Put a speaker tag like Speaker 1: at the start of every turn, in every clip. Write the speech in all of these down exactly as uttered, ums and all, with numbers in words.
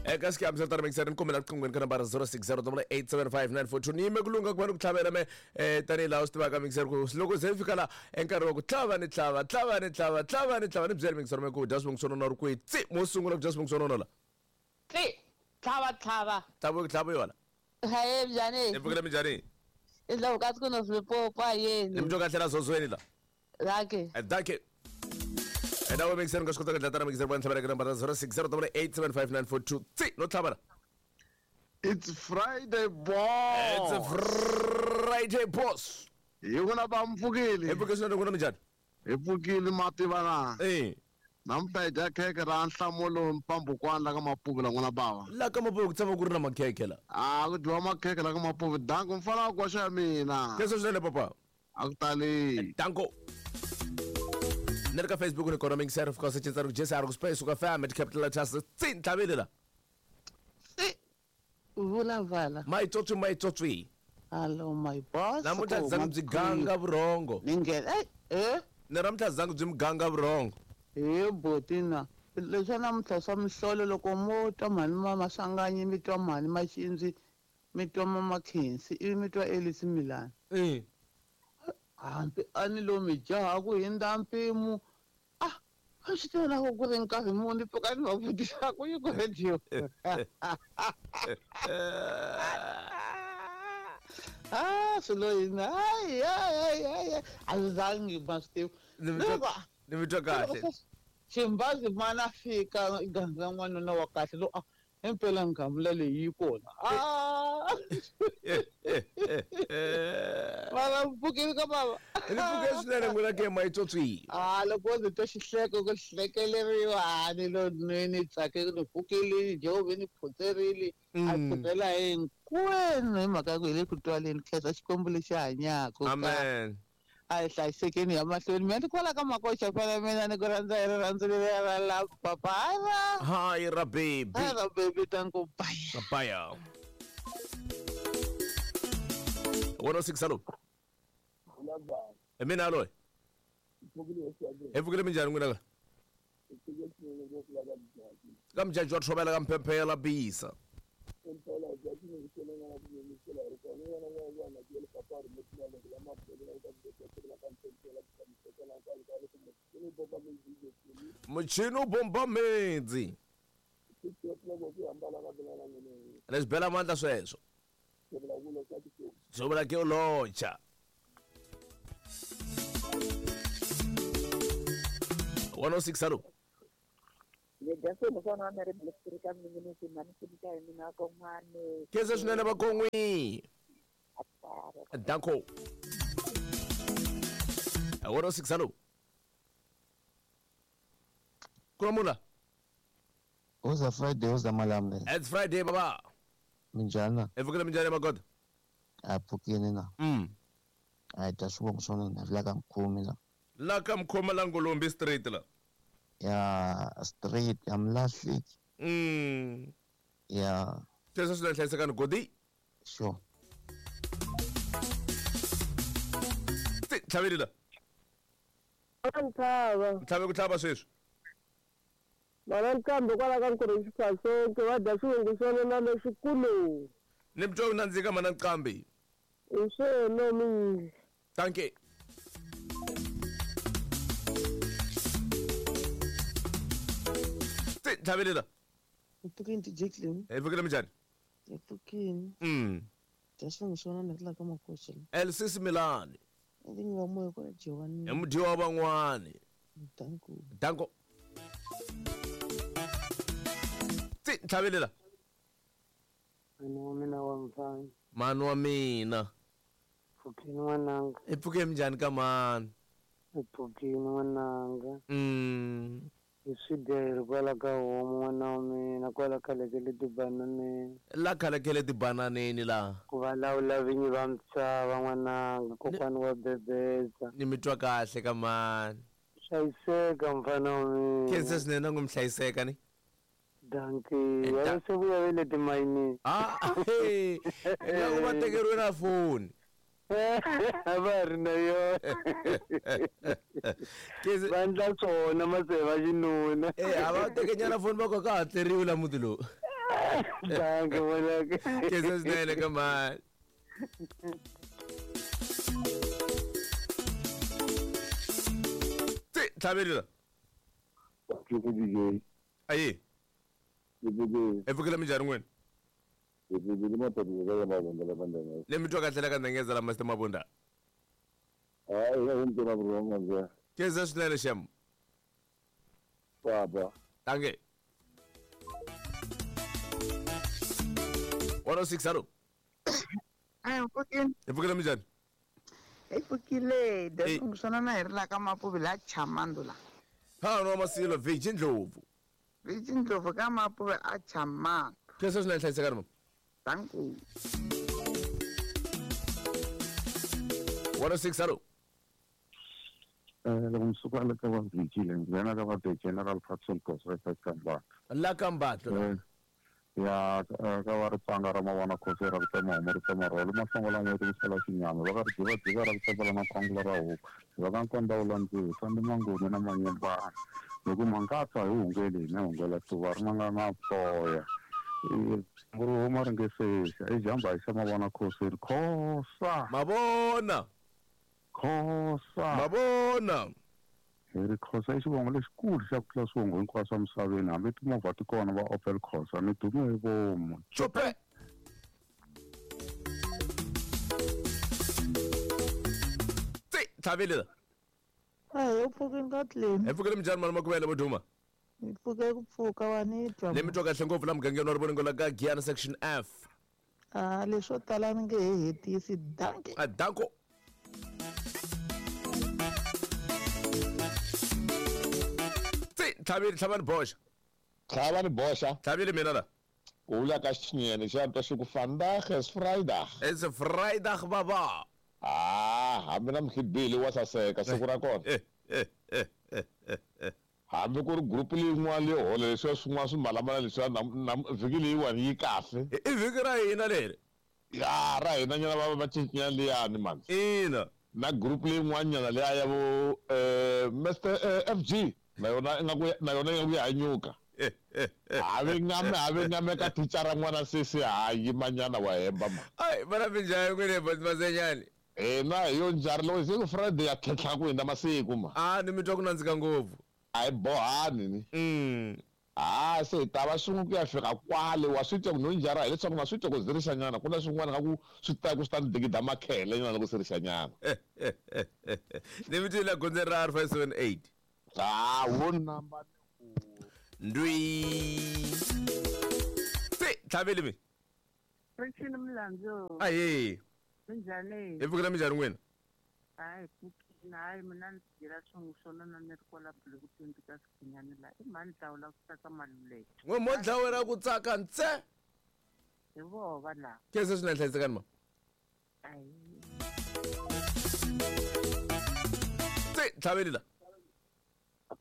Speaker 1: Eka xikambi swa tani mixer ni kombela riqinghweni ka nambara zero six zero double eight seven five nine four two ni yime ku lungha ku va ni ku tlhavela me eh tanihi laha u swi tivaka mixer ku loko ze fika la enkarhi wa ku tlhava ni tlhava tlhava ni tlhava tlhava ni tlhava ni byela mixer me ku dya swivongo swo nona ri kwihi tsi mo sungula ku dya swivongo swo nona la
Speaker 2: tsi tlhava tlhava
Speaker 1: tlhava ku tlhava yona
Speaker 2: haye njhani
Speaker 1: i pfukile minjhani
Speaker 2: i ndla ku no swipopa yeni
Speaker 1: ni mutwa kahle la zozweni la
Speaker 2: danke
Speaker 1: danke. And now we make sense because we got mixer one tlhabela ka nambara zero six zero double eight seven five nine four two tsi no tlhabela.
Speaker 3: It's Friday boss.
Speaker 1: It's a Friday boss.
Speaker 3: Hi vona va mpfukile.
Speaker 1: Hi pfukile swinene n'wina minjhani?
Speaker 3: Hi pfukile mativa na.
Speaker 1: Eh.
Speaker 3: Namuntlha hi dya khekhe ra nhlamulo mpambukwana la ka Mapuve la n'wana bava.
Speaker 1: La ka Mapuve ku tshama ku ri na makhekhe la.
Speaker 3: Ah ku dyiwa makhekhe la ka Mapuve. Danko mfana wa koxa ya mina.
Speaker 1: Kesho swinene papa.
Speaker 3: A ku tali.
Speaker 1: Danko. Ni ri ka Facebook ni kona mixer of course cinca ri Jesse a ri ku space ka fam at capital letters tsi ntlhaveli la.
Speaker 2: Tsi vulavala.
Speaker 1: My tsotsi my tsotsi.
Speaker 2: Hello my boss.
Speaker 1: Namuntlha zangu byi ganga vurhongo.
Speaker 2: Ni nghena eh eh
Speaker 1: ni namuntlha zangu byi muganga vurhongo.
Speaker 2: He botina leswi namuntlha swa mihlolo loko mo twa mhani ma Maswanganyi mi twa mhani Maxindzi mi twa mama Khensi ivi mi twa Elisi Milani.
Speaker 1: Eh.
Speaker 2: Hambi a ni lo mi jaha ku hindza mpimo ah a swi tiva na ku ku ri nkarhi muni pfuka ni va vutisa ku yi ku radio. Ah swilo yini hayi hayi hayi a swi zangi ma swi tivi
Speaker 1: ni mi twa kahle.
Speaker 2: Ximbazi mana fika gandza n'wanuna wa kahle lo a impela ngamula leyi yi kona. Ah mara mpfukile ka bava.
Speaker 1: Ni pfuke swinene n'wina ke mayitsotsi.
Speaker 2: Ah loko ndzi twa xihleko ku hlekeleriwa ni lo ni ni tsake ni pfukile jehova ni phutserile a phutsela hinkwenu hi mhaka ya ku hi le ku twaleni khensa Xikwembu lexi hanyaka.
Speaker 1: Amen.
Speaker 2: A hi hlayisekeni ya mahlweni mina ni kwala ka makoxa fana mina ni ku rhandza hi rirhandzu leriya ra la papa ra
Speaker 1: hi ra baby
Speaker 2: hi ra baby tanko bye
Speaker 1: bye. one oh six hello. Mina alo. Hi pfukile minjhani n'wina ka? Ka mjaji wa thobela ka mphemphela bisa. Muchini u bomba mendzi. Leswi bela mandla sweswo. Swi vula ke u locha. one oh six hello. Khensa swinene vakon'wi. Danko. one oh six hello. Kulamula.
Speaker 4: Uza Friday uza malambe.
Speaker 1: It's Friday baba.
Speaker 4: Minjhani?
Speaker 1: Hi pfukile minjhani magoda?
Speaker 4: A pfukile na.
Speaker 1: Mm.
Speaker 4: A dya swivongo swa n'wina la ka Mkhumi la.
Speaker 1: La ka Mkhoma la Ngolombi street la.
Speaker 4: Ya street ya Mlahleki.
Speaker 1: Mm.
Speaker 4: Ya.
Speaker 1: Sweswo swi hlayisekani godi.
Speaker 4: Sure.
Speaker 1: Tsi tlhaveli la.
Speaker 5: Ntlhava.
Speaker 1: Ntlhave ku tlhava sweswi.
Speaker 5: Mara nkambe kwala ka Nkurhi Xifasonke va dya swivongo swa nona leswikulu.
Speaker 1: Ni mutwa ku nandzika mana nqambi.
Speaker 5: I swona mingi.
Speaker 1: Dankie. Tsi tlhaveli la.
Speaker 6: Hi pfukile ti Jacqueline.
Speaker 1: Hi pfukile minjhani?
Speaker 6: Hi pfukile.
Speaker 1: Mm.
Speaker 6: Dya swivongo swa nona la ka Makoxa la.
Speaker 1: Elsis Milani.
Speaker 6: Vinyi va moya kwala Jewani.
Speaker 1: Hi mudyiwa wa van'wani.
Speaker 6: Danko.
Speaker 1: Danko. Tsi ntlhaveli la.
Speaker 7: Mani wa mina wa mfana.
Speaker 1: Mani wa mina.
Speaker 7: Pfukile n'wananga.
Speaker 1: Hi pfuke minjhani ka mani?
Speaker 7: Hi pfukile n'wananga.
Speaker 1: Mm.
Speaker 7: Hi swi dya hi ri kwala ka homu n'wana wa mina kwala khalekele tibananeni.
Speaker 1: La khalekele tibananeni la.
Speaker 7: Ku vulavula vinyi va misava n'wananga kokwani wa bebeza.
Speaker 1: Ni mi twa kahle ka mani.
Speaker 7: Hlayiseka mfana wa mina.
Speaker 1: Khensa swinene na ku mi hlayiseka ni.
Speaker 7: Dankie. Ya se vuya ve le timayinini.
Speaker 1: Ah, hey. Ingaku va tekeriwe na foni.
Speaker 7: A va ri na yona. Va endla swona mase va xinuna.
Speaker 1: Eh, a va teke nyana foni va ku ka hatleriwi la muti lowu.
Speaker 7: Dankie n'wanaka.
Speaker 1: Khensa swinene ka mhani. Tsi tlhaveli la.
Speaker 8: Ku D J.
Speaker 1: Ayi.
Speaker 8: Hi
Speaker 1: pfukile minjhani n'wina?
Speaker 8: Hi pfukile mapatu ya Mabunda la bandana.
Speaker 1: Le mi twa kahle la ka Ndengeza la Master Mabunda.
Speaker 8: Hayi ya humbe na bro nganje.
Speaker 1: Khensa swinene xem.
Speaker 8: Baba.
Speaker 1: Dankie. one oh six hello.
Speaker 2: Ai pfukile.
Speaker 1: Hi pfukile minjhani?
Speaker 2: Hi pfukile, leswi swona na hi ri la ka Mapuve la Chamando la.
Speaker 1: Ha no Masilo Virgin Ndlovu.
Speaker 2: Virgin Ndlovu ka Mapuve a Chamando.
Speaker 1: Khensa swinene hlayisekani mama.
Speaker 2: Thank you.
Speaker 1: one oh six hello.
Speaker 8: Eh loko msuka le ka va Virgin nghena ka va the General Patson Khosa ka Mbatlo.
Speaker 1: La ka Mbatlo.
Speaker 8: Ya ka va ri tsanga ra mavona Khosa ra ku tsema homu ri tsema rholo mahlongola n'weti ku sala xinyama va ka ri diva diva ra ku tsema na khwangula ra huku va ka nkonda wu landziwi sandi mangoni na manyembana loko mangatsa hi hungele hina hungela tuva ri nga na toya ri huma ri nge sexa i jamba hi xa mavona Khosa ri Khosa
Speaker 1: mavona
Speaker 8: Khosa
Speaker 1: mavona
Speaker 8: hi ri Khosa i xivongo lexikulu xa ku tlula swivongo hinkwaswo emisaveni hambi timovha ti kona va Opel Khosa ni dume hi vomu
Speaker 1: Chope Tsi tlhaveli la.
Speaker 6: Hayi u pfukile ka tleni.
Speaker 1: Hi pfukile minjhani mali makuvele vo duma?
Speaker 6: Hi pfuke ku pfuka wa ni twa.
Speaker 1: Le mi twa kahle ngopfu la mugangeni wa Rivoningo la ka Giyani section F.
Speaker 6: Ah leswo tala ni nge he hetisi dankie.
Speaker 1: A danko. Tsi tlhaveli tlhavani boxa.
Speaker 9: Tlhavani boxa.
Speaker 1: Tlhaveli mina la.
Speaker 9: Ku vula ka xinyene xa twa xi ku vandag is Vrydag.
Speaker 1: It's a Vrydag baba.
Speaker 9: Ah, hambi na mkhibili wa saseka siku ra kona.
Speaker 1: Eh eh eh eh eh.
Speaker 9: Hambi ku ri group leyin'wana leyi hola leswiya swin'wana swi mbalamala leswiya vhiki leyiwani yi kahle.
Speaker 1: I vhiki ra hina leri.
Speaker 9: Ya ra hina nyana va va cincinyana liyani mani.
Speaker 1: Ina.
Speaker 9: Na group leyin'wanyana liya ya vo eh Mister F G na yona ingaku na yona ingaku ya hanyuka. Have ngame have ngame ka thicara n'wana sesi ha yimanyana wa hemba ma.
Speaker 1: Ai vana minjhani n'wina boss Masenyani?
Speaker 9: Hina hi yo njhani loko siku Friday ya tlhentlha ku hindza masiku ma.
Speaker 1: Ah ni mi twa ku nandzika ngopfu.
Speaker 9: A hi bohani ni.
Speaker 1: Mm.
Speaker 9: Ah se hi ta va swin'we ku ya fika kwale wa swi twa ku no njhara hileswaku na swi twa ku zirixanyana ku na swin'wana nga ku swi ta ku swi ta ni digida makhele nyana loko sirixanyana.
Speaker 1: Ni mi twile gondzeni ra R five seven eight.
Speaker 9: Ah wo namba
Speaker 1: ndwi. Tsi tlhaveli mi.
Speaker 2: Rixini Mlandzu.
Speaker 1: Ayi.
Speaker 2: Minjhani?
Speaker 1: Hi pfukile minjhani n'wina?
Speaker 2: Hayi pfukile hayi mina ni byela swin'we swona na ni ri kwala Block twenty ka Sikhinyani la i mhani hlawula ku tsaka Maluleke.
Speaker 1: N'we mo dlawela ku tsaka ntse.
Speaker 2: Hi voho va lava.
Speaker 1: Khensa swinene hlayisekani ma.
Speaker 2: Ayi.
Speaker 1: Tsi tlhaveli la.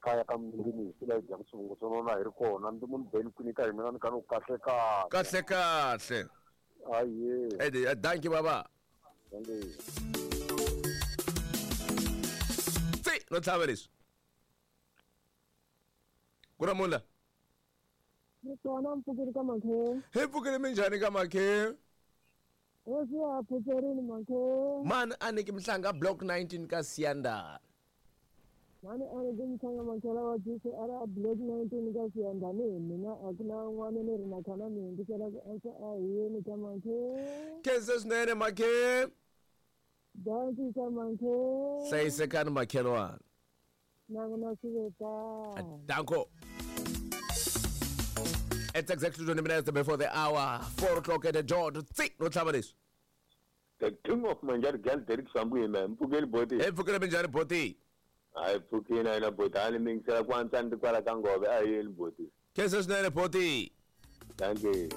Speaker 8: Kaya ka mundini hi la hi dyaka swivongo swo nona hi ri kona ndi munhu beni kwini ka hi mina ni ka ni ku kahle kahle.
Speaker 1: Kahle kahle.
Speaker 8: Aye.
Speaker 1: Ede dankie baba. Tsi no tlhava leswi. Ku na munhu la?
Speaker 5: Ni kona mpfukile ka Makhe.
Speaker 1: Hi pfukile minjhani ka Makhe?
Speaker 5: Hosi ya phutserini Makhe.
Speaker 1: Mani a ni ki Mhlanga block nineteen ka Siyandhani.
Speaker 5: Mani a ni ki Mhlanga Makhela wa G C R block nineteen ka Siyandhani hi mina a ku na un'wana ni ri na khana mi hundzisela ku ansa a hi yeni ka Makhe.
Speaker 1: Khensa swinene Makhe.
Speaker 5: Dankie ka Makhe.
Speaker 1: Hlayisekani makhelwana.
Speaker 5: Na n'wina swi ve tano.
Speaker 1: Danko. It's exactly twenty minutes before the hour, four o'clock at the dot. Tsi no tlhava leswi.
Speaker 8: The king of Manjari girl Derek Sambu yena mpfukeli boti.
Speaker 1: Hi pfukile minjhani boti?
Speaker 8: Hayi pfukile yena boti a ni mingisela ku antswa ni kwala ka Ngove a yeni boti.
Speaker 1: Khensa swinene boti.
Speaker 8: Dankie.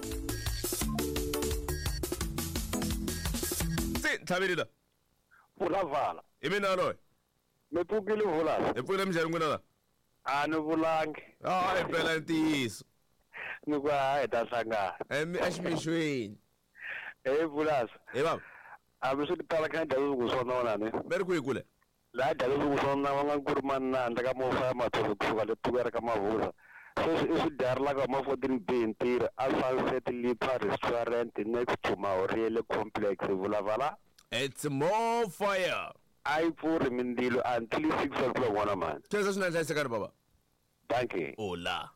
Speaker 1: Tsi tlhaveli la.
Speaker 7: Vulavala.
Speaker 1: I mina loyi.
Speaker 7: Mi pfukile vulala.
Speaker 1: Hi pfukile minjhani n'wina la?
Speaker 7: A ni vulangi.
Speaker 1: Ah hi mpela ntiyiso.
Speaker 7: Ni ku hayi ta hlangana.
Speaker 1: Emi eximixweni.
Speaker 7: Eh vulasa.
Speaker 1: Hi baba.
Speaker 7: Hambi swi tala kha dya leswi ku swona ni.
Speaker 1: Ve ri kwihi kule?
Speaker 7: Laha dya leswi ku swona va nga ku ri manandza ka mofa ya matholo kusuka le Tukela ka Mavuza.
Speaker 10: Sweswi i swi dyarelaka ma fourteen B ntirho a Sunset Lipa Restaurant next to Maoriele Complex vulavala.
Speaker 1: It's more fire.
Speaker 10: A yi pfuri mindzilo until six o'clock n'wana mani.
Speaker 1: Khensa swinene hlayisekani baba.
Speaker 10: Thank you.
Speaker 1: Hola.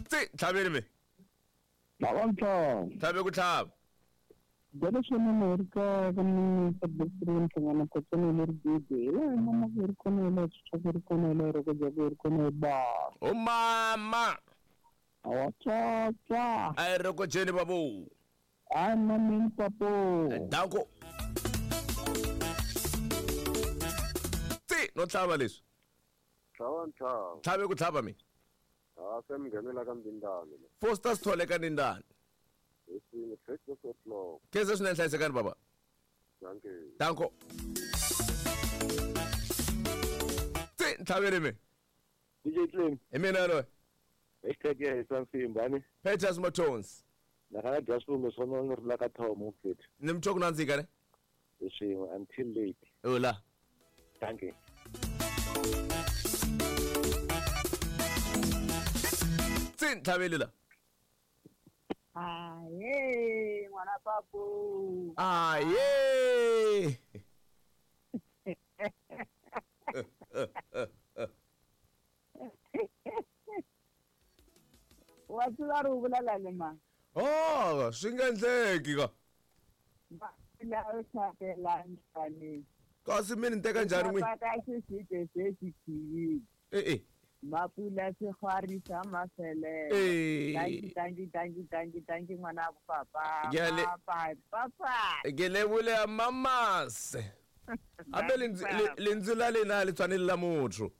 Speaker 1: Tsi tlhaveni me.
Speaker 11: Tlhava
Speaker 1: Tlhave ku tlhava.
Speaker 11: Byela swinene hi ri ka ka minista Blessing Nhlangano Kotswana le ri gidi. Hi laha mama ku ri kona hi laha swi ri kona hi laha roko ku ri kona hi ba.
Speaker 1: O mama.
Speaker 11: Awa tsa.
Speaker 1: A ri roko jeni babu.
Speaker 11: Ai mami papo.
Speaker 1: Danko. Tsi no tlhava leswi.
Speaker 3: Tlhava ntlhava.
Speaker 1: Tlhave ku tlhava mi.
Speaker 3: Ha se mi nghenela ka Mbindani.
Speaker 1: Foster Sithole ka Ndindani. Khensa swinene hlayisekani baba.
Speaker 3: Dankie.
Speaker 1: Danko. Tsi ntlhaveni me.
Speaker 10: D J Clem.
Speaker 1: Hi mina loyi.
Speaker 10: Hashtag ya hisa nsimba ni.
Speaker 1: Peters Motons.
Speaker 10: Na kana dya swivungu swa nona ri la ka thomo mfethu.
Speaker 1: Ni mtho ku nandzika ne?
Speaker 10: Hi swin'we until late.
Speaker 1: Hola.
Speaker 10: Dankie.
Speaker 1: Tsi ntlhaveni la.
Speaker 5: Aye, ngwana papo.
Speaker 1: Aye.
Speaker 5: Wa tseba re o bolela le mang?
Speaker 1: Oh, swi nga endleki ka.
Speaker 5: La o tlhapela njhani?
Speaker 1: Kasi mi ni teka njhani n'wini?
Speaker 5: Ka xisite se xi khiyile.
Speaker 1: Eh eh.
Speaker 5: Mapula sehwari sa mafelelo.
Speaker 1: Eh.
Speaker 5: Dankie, dankie, dankie, dankie, dankie ngwana papa.
Speaker 1: Ke a le-
Speaker 5: Papa, papa.
Speaker 1: Ke lebole mamas. Abe lentswe lentswe la lena le tshwane le la motho.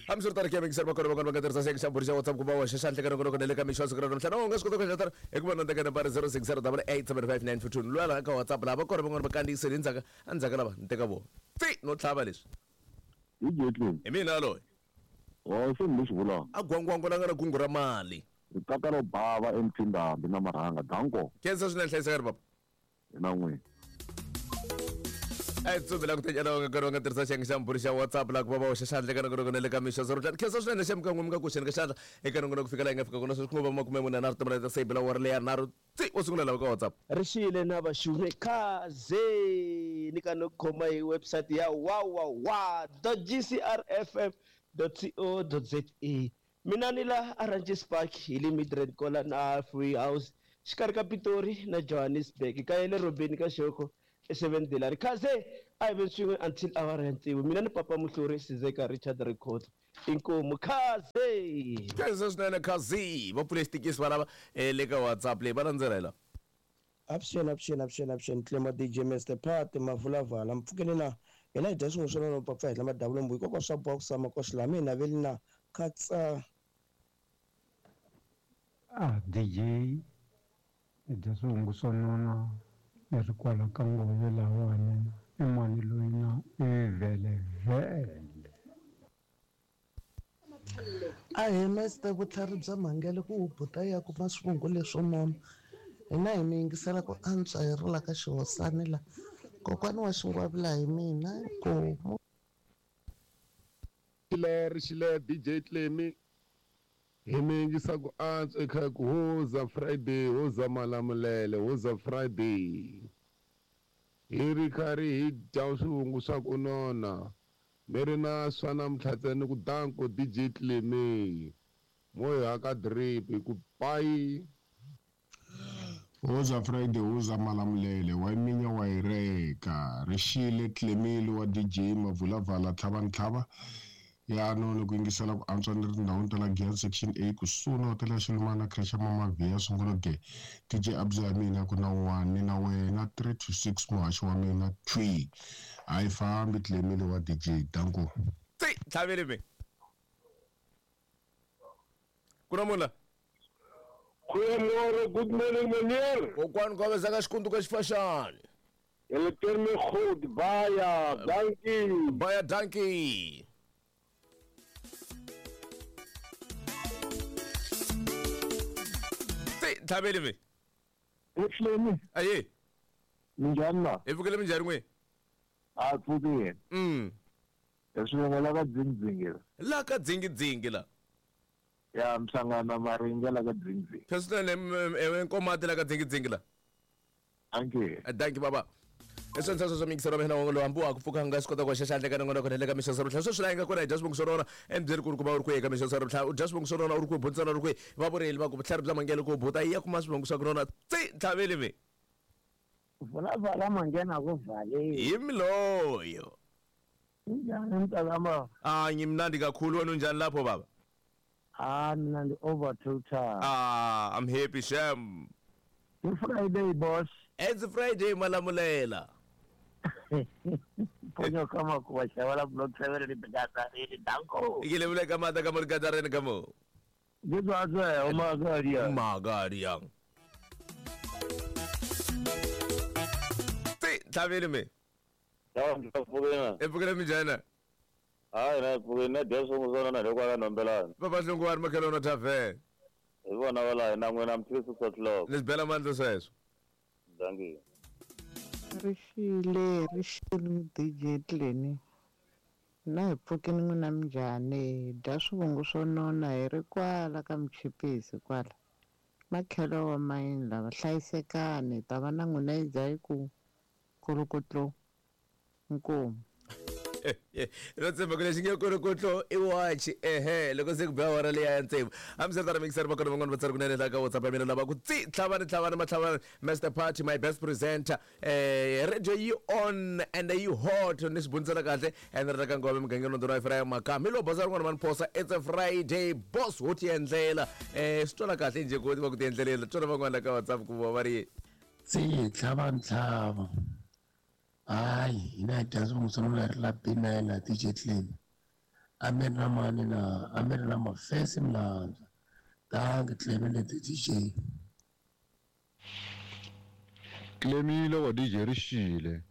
Speaker 1: Hamswi ri ke mixer bakona bakona ba ka tirhisa xiyenge xa mbhuri xa WhatsApp ku va hoxa xandla ka nongonoko na le ka mixo wa siku ra namuntlha. No, u nga swi kota ku endla tano hi ku va na teka nambara zero six zero double eight seven five nine two two. Luya laha ka WhatsApp laha va kona van'wana va kandziyisile endzhaku endzhaku lava ni teka vona. Tsi no tlhava leswi.
Speaker 8: D J Clem.
Speaker 1: Hi mina loyi.
Speaker 8: Oh, se ni lexi vulaka.
Speaker 1: A gwangwango la nga na kungu ra mali.
Speaker 8: Rikaka ro bava emphindambi na marhanga danko.
Speaker 1: Khensa swinene hlayisekani papa.
Speaker 8: Hi na n'wina.
Speaker 1: A hi tsumbela ku tenyana va nga karhi va nga tirhisa xiyenge xa mbhuri xa WhatsApp laha ku va va hoxa xandla eka nongonoko na le ka mixo zero ntlhanu. Khensa swinene xa mikan'we mi nga koxeni ka xandla eka nongonoko ku fika laha hi nga fika kona sweswi ku ngo va makume mune nharhu timali ta seyibela wa ri leya nharhu tsi wo sungula lava ka WhatsApp.
Speaker 12: Rixile na vaxume khaze ni ka no khoma hi website ya wawawa dot g c r f m dot co dot za. Mina ni la Oranges Park hi le Midrand kola na Free House xikarhi ka Pitori na Johannesburg ka le Robeni ka Xoko e seven dollar khaze a hi ve swin'we until awara ya tsevu. Mina ni papa Muhluri Sizeka Richard Record inkomu khaze.
Speaker 1: Khensa swinene khazi va pfule xitikisi va lava le ka WhatsApp leyi va landzela hi la.
Speaker 13: Avuxeni, avuxeni, avuxeni, avuxeni Clema D J Mister Pat Mavulavala mpfukeni na hina hi dya swin'we swa nona papa hi lama davula mbuyi kokwa swa boxa makoxi lama hina veli na khatsa.
Speaker 7: Ah D J hi dya swihungu swa nona ni ri kwala ka ngove lahawani i mani loyi na i vele vele.
Speaker 6: A hi Mister vutlhari bya mhangele ku wu buta ya kuma swivungu leswo nona. Hina hi mi yingisela ku antswa hi ri la ka xihosani la. Kokwani wa xingwavila hi mina inkomu.
Speaker 14: Xile xile D J Clemi hi mi yingisa ku antswa eka ku hoza Friday hoza Malamulele hoza Friday. Hi ri karhi hi dya swivungu swa ku nona. Mi ri na swa namuntlha ntsena ku danko D J Clemi. Mo hi haka drip hi ku bye.
Speaker 15: Hoza Friday hoza Malamulele wa minya wa hi reka rixile Clemile wa D J Mavulavala tlhava ntlhava ya nona ku yingisela ku antswa ni ri tindhawini ta la Giyani section A kusuhi na hotela ya Xilumana creche ya Mama Via sungula ge D J Abza ya mina ku na one ni na wena three to six muhaxi wa mina three a yi fambi Clemile wa D J danko.
Speaker 1: Tsi tlhaveli me. Ku na munhu la?
Speaker 14: Goeiemôre, good morning meneer.
Speaker 1: Kokwani ka vezaka xikundu ka xifaxani.
Speaker 14: Julle ken my goed, baie dankie.
Speaker 1: Baie dankie. Tsi tlhaveli me.
Speaker 8: Ehleni.
Speaker 1: Aye.
Speaker 8: Minjhani la?
Speaker 1: Hi pfukile minjhani n'we?
Speaker 16: A pfukile.
Speaker 1: Mm.
Speaker 16: Leswi la ka dzingidzingi.
Speaker 1: La ka dzingidzingi la.
Speaker 16: Ya mhlangana maringa la ka dzingidzingi.
Speaker 1: President enkomati la ka dzingidzingi la.
Speaker 16: Anke.
Speaker 1: Thank you baba. Leswi ndzi swa mixero mina wongo hambi wa ku pfuka nga swi kota ku xaxa handle ka nongonoko na le ka mixo swa sweswi la nga kona hi dya swivongo swa rona embyeri ku ri ku va u ri kwihi ka mixo swa tlha u dya swivongo swa rona u ri kwihi butsana u ri kwihi va vureli va ku vutlhari bya mangele ku buta yi ya kuma swivongo swa rona tsi tlhaveli mi
Speaker 17: Vulavala mangena ku valeni.
Speaker 1: Hi miloyo.
Speaker 17: Unjani mntakama?
Speaker 1: Ah ngimnandi kakhulu wena unjani lapho baba?
Speaker 17: Ah mina ndi over total.
Speaker 1: Ah I'm happy sham.
Speaker 17: It's Friday boss.
Speaker 1: It's Friday malamulela.
Speaker 17: Ponyo kama kuwa shawala block seven ni bidata ni danko.
Speaker 1: Ikile vule kama ta kama gadare kamo.
Speaker 17: Ngizwa umagaria.
Speaker 1: Umagaria. Tlhaveli me.
Speaker 18: Yawa ngipfukile.
Speaker 1: Epfukile minjhani?
Speaker 18: Hayi na pfukile na dya swin'we swona na loko ka nombelana.
Speaker 1: Papa Hlongwane makhelwana tavern.
Speaker 18: Hi vona va laha na n'wina mi six o'clock.
Speaker 1: Ni bela mandla sweswo.
Speaker 18: Dankie.
Speaker 2: Rixile rixile D J Tleni. Na hi pfukile n'wina minjhani? Dya swivongo swo nona hi ri kwala ka Mchipisi kwala. Makhelo wa mayini lava hlayisekani ta va na n'wina yi dya yi ku kolokotlo nkomu.
Speaker 1: Ro tshemba ku lexi nge kolokotlo i wachi ehe loko se ku biwa wara leya ya ntsevu hambiswiritano mixer va kona van'wana va tsari kunene la ka WhatsApp ya mina lava ku tsi tlhavani tlhavani matlhavani Master Party my best presenter eh radio yi on and yi hot ni swi bunisela kahle and ri ka ngove mugangeni wa Ifraya Makami lo bosa rin'wana va ni phosa it's a Friday boss wo ti endlela eh swi twala kahle njhe ku va ku ti endlelela twala van'wana la ka WhatsApp ku va va ri
Speaker 19: tsi tlhavani tlhava. Hayi hina hi dya swivongo swa nona ri la B nine na D J Tleni. A mi ri na mani na a mi ri na mafesi milandza. Dankie Tlemi le D J.
Speaker 8: Tlemile wa D J rixile.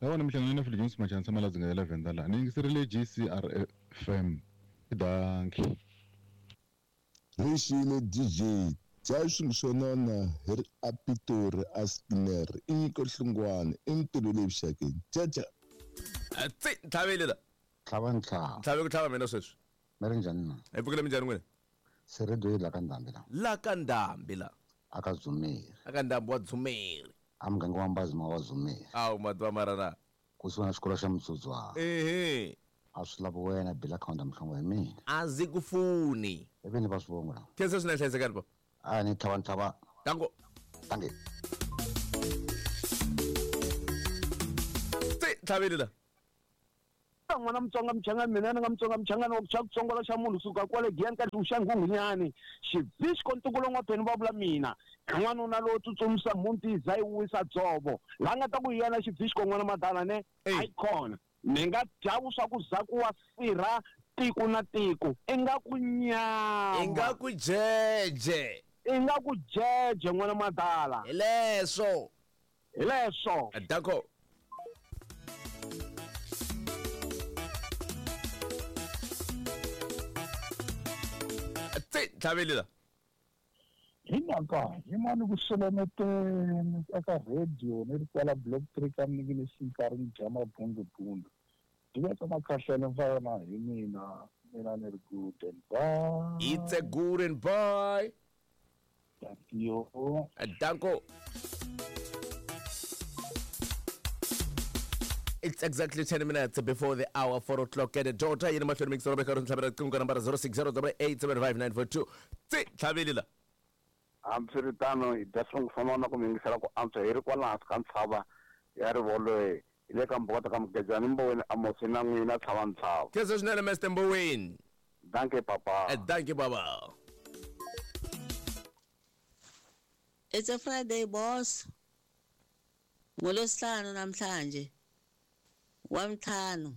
Speaker 8: Lawa ni mihlangano na Philip Machansa Maladzinga ya Lavenda la. Ni yingiserile G C R F M. Dankie.
Speaker 20: Rixile D J. Dya swilo swo nona hi ri a Pitori a Skinner i nyiko Hlungwane i ntirho leyi vuxakeni caca.
Speaker 1: Tsi tlhaveli la.
Speaker 21: Tlhava ntlhava.
Speaker 1: Tlhave ku tlhava mina sweswi.
Speaker 21: Mi ri njhani na?
Speaker 1: Hi pfukile minjhani n'wina?
Speaker 21: Se radio yi la ka Ndhambi la.
Speaker 1: La ka Ndhambi la.
Speaker 21: A ka Dzumeri.
Speaker 1: A ka Ndhambi wa Dzumeri.
Speaker 21: A muganga wa Mbazima wa Dzumeri.
Speaker 1: Awu mati mara na.
Speaker 21: Kusuhi na xikolo xa Mutsudzwana.
Speaker 1: Ehe.
Speaker 21: A swi lavi wena bila khawunta mihlovo ya mina.
Speaker 1: A ndzi ku funi.
Speaker 21: Ivi ni va swivongo la.
Speaker 1: Khensa swinene hlayisekani pa.
Speaker 21: A ni tlhava ntlhava.
Speaker 1: Tango.
Speaker 21: Tange.
Speaker 1: Tsi tlhaveli la.
Speaker 22: N'wana Mutsonga Mchangani mina ni nga Mutsonga Mchangani wa ku xa kutsongola xa munhu suka kwale Giyani ka xa Nghunghunyani xivisco ntukulo n'wapheni va vula mina n'wanuna lowo tsutsumisa mhunti za yi wisa dzovo la nga ta ku yena xivisco n'wana madala ne icon ni nga dya vuswa ku za ku wa sirha tiko na tiko i nga ku nyama
Speaker 1: i nga ku jeje
Speaker 22: i nga ku jeje n'wana madala
Speaker 1: hi leswo
Speaker 22: hi leswo
Speaker 1: danko. Tlhaveli la.
Speaker 23: Hi mhaka hi mani ku selemeteni eka radio ni ri kwala block three ka mnikini xinkarhi ni dya mabundubundu diveka makhahlele va yona hi mina mina ni ri good and bye.
Speaker 1: It's a good and bye.
Speaker 23: Thank you.
Speaker 1: Danko. It's exactly ten minutes before the hour four o'clock at the daughter yini mahlweni mixero beka ri ntlhavela riqingho ka nambara zero six zero eight seven five nine four two. Tsi tlhaveli la.
Speaker 10: Hambiswiritano hi dya swivongo swa nona ku mi yingisela ku antswa hi ri kwala hansi ka ntshava ya Rivoloe hi le ka Mbokota ka Mugejani Mboweni Amosi na n'wina tlhava ntlhava.
Speaker 1: Khensa swinene Mister Mboweni.
Speaker 10: Dankie papa.
Speaker 1: Dankie baba.
Speaker 24: It's a Friday boss. Ngolwesihlanu namhlanje. Wa ntlhanu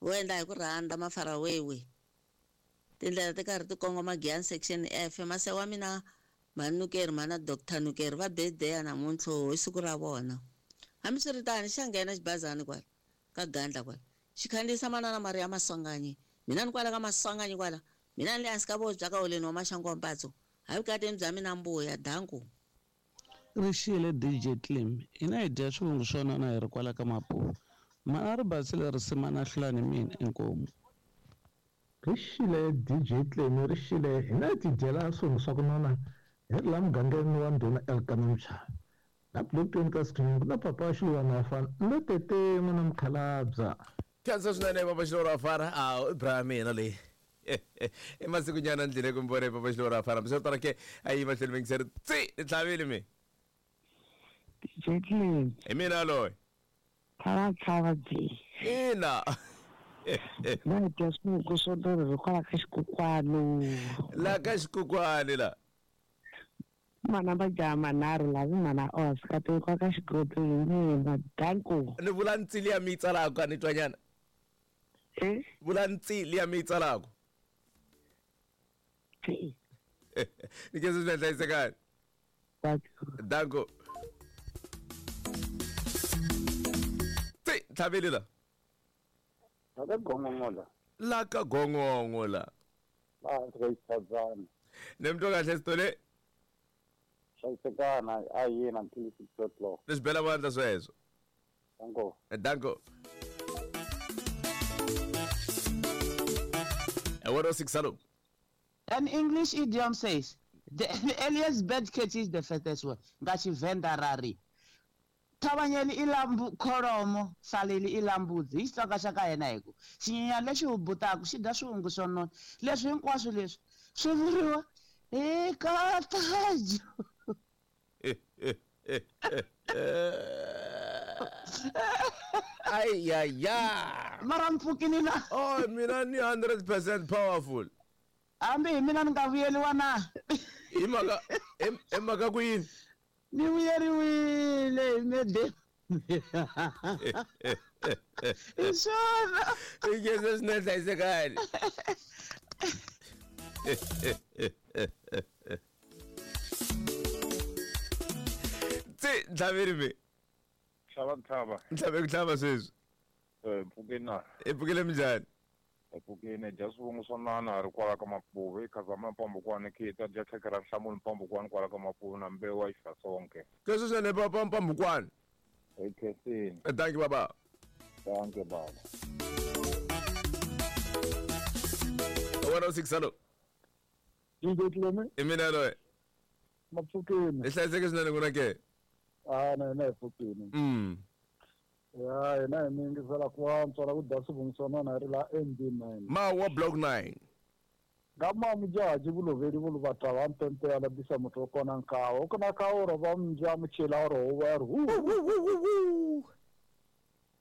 Speaker 24: wo endla hi ku rhandza mafarawewe tindlela ti karhi ti kongoma Giyani section F mase wa mina Mhani mana Doctor Nukeri va birthday namuntlha hi siku ra vona. Hambiswiritano xa nghena xibazani kwala ka gandla kwala xi khandziyisa manana Maria Maswanganyi mina ni kwala ka Maswanganyi kwala mina ni le hansi ka voho bya ka holeni wa Maxangu wa Mpatso hayi vukateni bya mina mbuya danku.
Speaker 6: Rixile D J Clem hina hi dya swivungu swo nona hi ri kwala ka Mapuva mana ri basile risima na hlulani mina inkomu.
Speaker 3: Rixile D J Clem rixile hina hi tidyela swivungu swa ku nona hi ri laha mugangeni wa ndhuna Elkana Mchava la block twenty ka Screen na papa Xilwana wa fana no tete n'wana mukhalabya.
Speaker 1: Khensa swinene papa Xilwana wa fana a i bra mina leyi i masikunyana ndlile ku mbone papa Xilwana wa fana miswo ke a yi mahlweni mingiseri tsi ni tlhavile mi
Speaker 4: D J Clem
Speaker 1: hi mina loyi
Speaker 4: tlhava tlhava byi
Speaker 1: ina
Speaker 4: na dya swivungu swo nona hi kwala ka xikokwani
Speaker 1: la ka xikokwani la
Speaker 4: mana majaha manharhu lavi mana Oscar tekwa ka xigodi hi mina danko
Speaker 1: ni vula ntsi liya mi yi tsalaka ni twanyana
Speaker 4: eh
Speaker 1: vula ntsi liya mi yi tsalaka ni khensa swinene hlayisekani danko tsi tlhavile la
Speaker 8: la ka gongongo la
Speaker 1: la ka gongongo la
Speaker 8: la hansi ka xitshadzana
Speaker 1: ni mi twa kahle Sithole
Speaker 8: hlayisekana a yena until six o'clock
Speaker 1: ni swi bela vandla sweswo
Speaker 8: danko
Speaker 1: danko one oh six hello.
Speaker 2: An English idiom says the, the earliest bird catches the fattest one. Nga Tshivenda ra ri Thavanyeli i lambu kholomo saleli i lambudzi hi Xitsonga xa ka hina hi ku xinyenyana lexi hubutaka xi dya swivungu swo nona leswi hinkwaswo leswi swi vuriwa hi katajo.
Speaker 1: Ay ay ay
Speaker 2: mara mpfukini na
Speaker 1: oh mina ni hundred percent powerful
Speaker 2: hambi hi mina ni nga vuyeliwa na
Speaker 1: hi mhaka hi mhaka ku yini
Speaker 2: ni vuyeriwile hi mede hi swona
Speaker 1: i khensa swinene hlayisekani tsi ntlhaveri mi
Speaker 8: tlhava ntlhava
Speaker 1: ntlhave ku tlhava sweswi
Speaker 8: eh mpfukeni na
Speaker 1: i pfukile minjhani
Speaker 8: hi pfukile dya swivungu swo nana hi ri kwala ka Mapuva i khazama mpambukwana khita dya khekhe ra nhlamulo mpambukwana kwala ka Mapuva na mbewu wa xifasonke
Speaker 1: keswi swinene papa mpambukwana
Speaker 8: hi khensini
Speaker 1: thank you baba
Speaker 8: thank you baba
Speaker 1: one oh six hello
Speaker 23: D J Clem
Speaker 1: i mina loyi
Speaker 23: mapfukeni
Speaker 1: hi hlayiseke swinene ku na ke
Speaker 23: a na hina hi pfukini
Speaker 1: mm
Speaker 23: ya hina hi mi yingisela ku antswa la ku dya swivungu swo nona hi ri la M B nine
Speaker 1: mawa block nine
Speaker 23: nga mamujaji vuloveli vuluvatwa va mpempe ya labisa muthu wo kona nkawa u kona kawa ro va mundya muchela ro huwa ya ri hu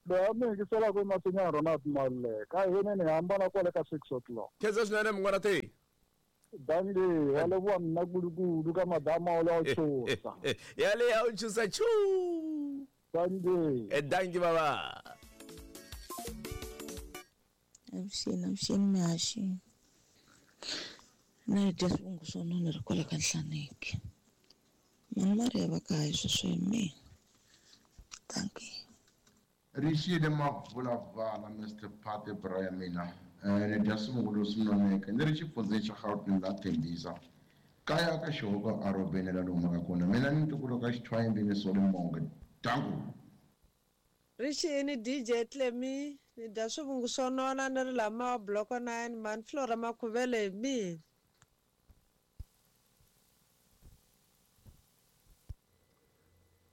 Speaker 23: loyi a mi yingiselaka i masinya Ronald Maluleka a hina ni hambana kwale ka six o'clock
Speaker 1: khensa swinene mun'wana te
Speaker 23: dange wa leboha nna kudu-kudu ka madama o le a o tshosa
Speaker 1: yale ya o tshosa chu
Speaker 23: dange
Speaker 1: e dange baba
Speaker 24: avuxeni avuxeni mihaxi na hi dya swivungu swo nona ri kwala ka Nhlaneki mani Maria va kaya sweswo hi mina dankie.
Speaker 9: Rixile Mavulavala Mister Patty bra ya mina ni dya swivungu leswi noneke ni ri xifundzeni xa Gauteng la Tembisa kaya ka xihoko a robeni la ni humaka kona mina ni ntukulu ka Xithwayimbi ni Soli Monge danku.
Speaker 11: Rixini D J Clemi ni dya swivungu swo nona ni ri lama block nine man Flora Makhuvele hi mina.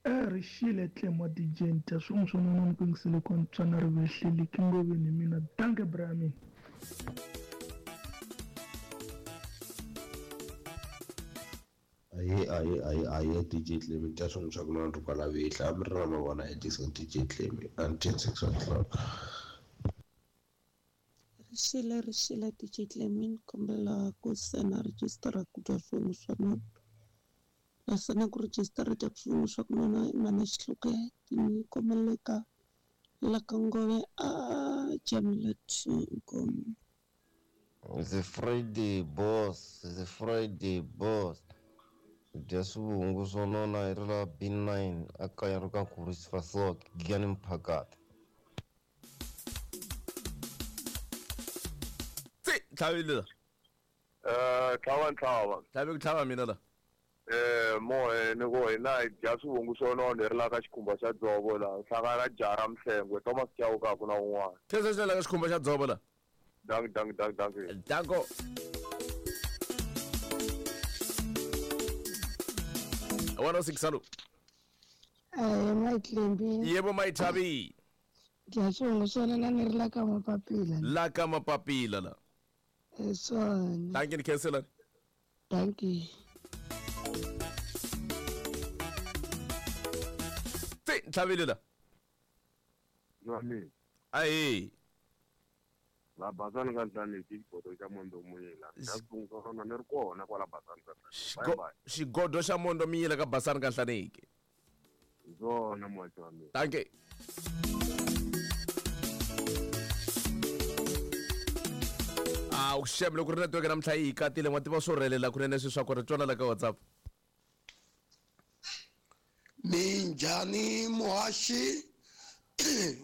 Speaker 25: Rixile Clem wa D J ni dya swivungu swo nona ni ku yingisele ku antswa na ri vehleli kingoveni hi mina danke bra ya mina.
Speaker 26: Aye aye aye aye D J Clem dya swivungu swa ku nona ri kwala vehla a mi ri na mavona Edison D J Clem until six o'clock.
Speaker 24: Rixile rixile D J Clem ni kombela ku sena rejistara ku dya swivungu swa nona naswona ku rejistara dya swivungu swa ku nona i mana Xihluke ni kombela ka la ka Ngove a Jamila two inkomu.
Speaker 26: It's a Friday boss, it's a Friday boss. Dya swivungu swo nona hi ri la B nine a kaya ro ka Khorwisa Giyani Mphakati.
Speaker 1: Tsi tlhavile la
Speaker 10: eh tlhava ntlhava
Speaker 1: tlhave ku tlhava mina la
Speaker 5: Eh mohe ni ku hina hi dya swivungu swo nona hi ri la ka xikhumba xa dzovo laha hlangana jara Mhlengwe Thomas Chauke ku na un'wana.
Speaker 1: Khensa swinene la ka xikhumba xa dzovo la.
Speaker 5: Dank dank dank dank.
Speaker 1: Danko. one oh six alo.
Speaker 7: Eh Maitlembi.
Speaker 1: Yebo Maithabi.
Speaker 7: Dya swivungu swo nona ni ri la ka Mapapila.
Speaker 1: La ka Mapapila la.
Speaker 7: Eh swona.
Speaker 1: Dankie ni khensela.
Speaker 7: Dankie.
Speaker 1: Ntlhavile la.
Speaker 12: Jwale.
Speaker 1: Ayi.
Speaker 12: La Basani ka Nhlaneki xigodo xa Mondo Muyila. Dya swivungu swo nona ni ri kona kwala Basani ka Nhlaneki. Bye bye.
Speaker 1: Xigodo xa Mondo Muyila ka Basani ka Nhlaneki.
Speaker 12: Hi swona muhaxi wa mina.
Speaker 1: Dankie. Ah, u xem loko ri network namuntlha yi hi katile n'wa tiva swo rhelela kunene sweswi swa ku ri twana la ka WhatsApp.
Speaker 13: Minjhani muhaxi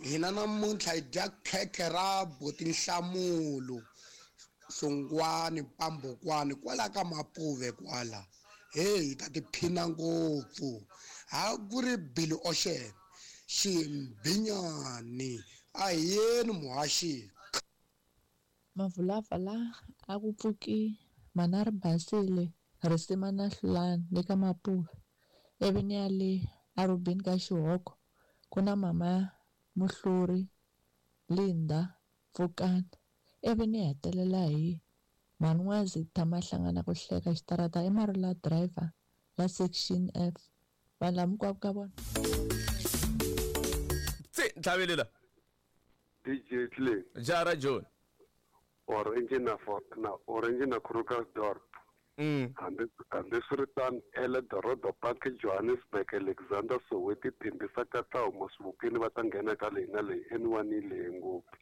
Speaker 13: hina namuntlha hi dya khekhe ra botinhlamulo Hlongwane Pambukwani kwala ka Mapuve kwala hey hi ta tiphina ngopfu ha ku ri Billy Ocean Ximbinyani a hi yeni muhaxi.
Speaker 14: Mavulava la a ku pfuki mana ri basile risima na hlulani le ka Mapuve ivi ni ya le arubini ka Xihoko ku na mama Muhluri Linda Pfukani ivi ni hetelela hi Manwazi tshama hlangana ku hleka xitarata i Marula driver la section F vanhu lava hinkwavo ka vona.
Speaker 1: Tsi ntlhavile la.
Speaker 12: D J Clay.
Speaker 1: Jara John.
Speaker 12: Orange na na Orange na Krugersdorp.
Speaker 1: Mm.
Speaker 12: Hambi hambiswiritano Eldorado Park Johannesburg Alexander Soweto Tembisa Katlaho Masibukeni va ta nghena ka leyi na leyi N one yi lehe ngopfu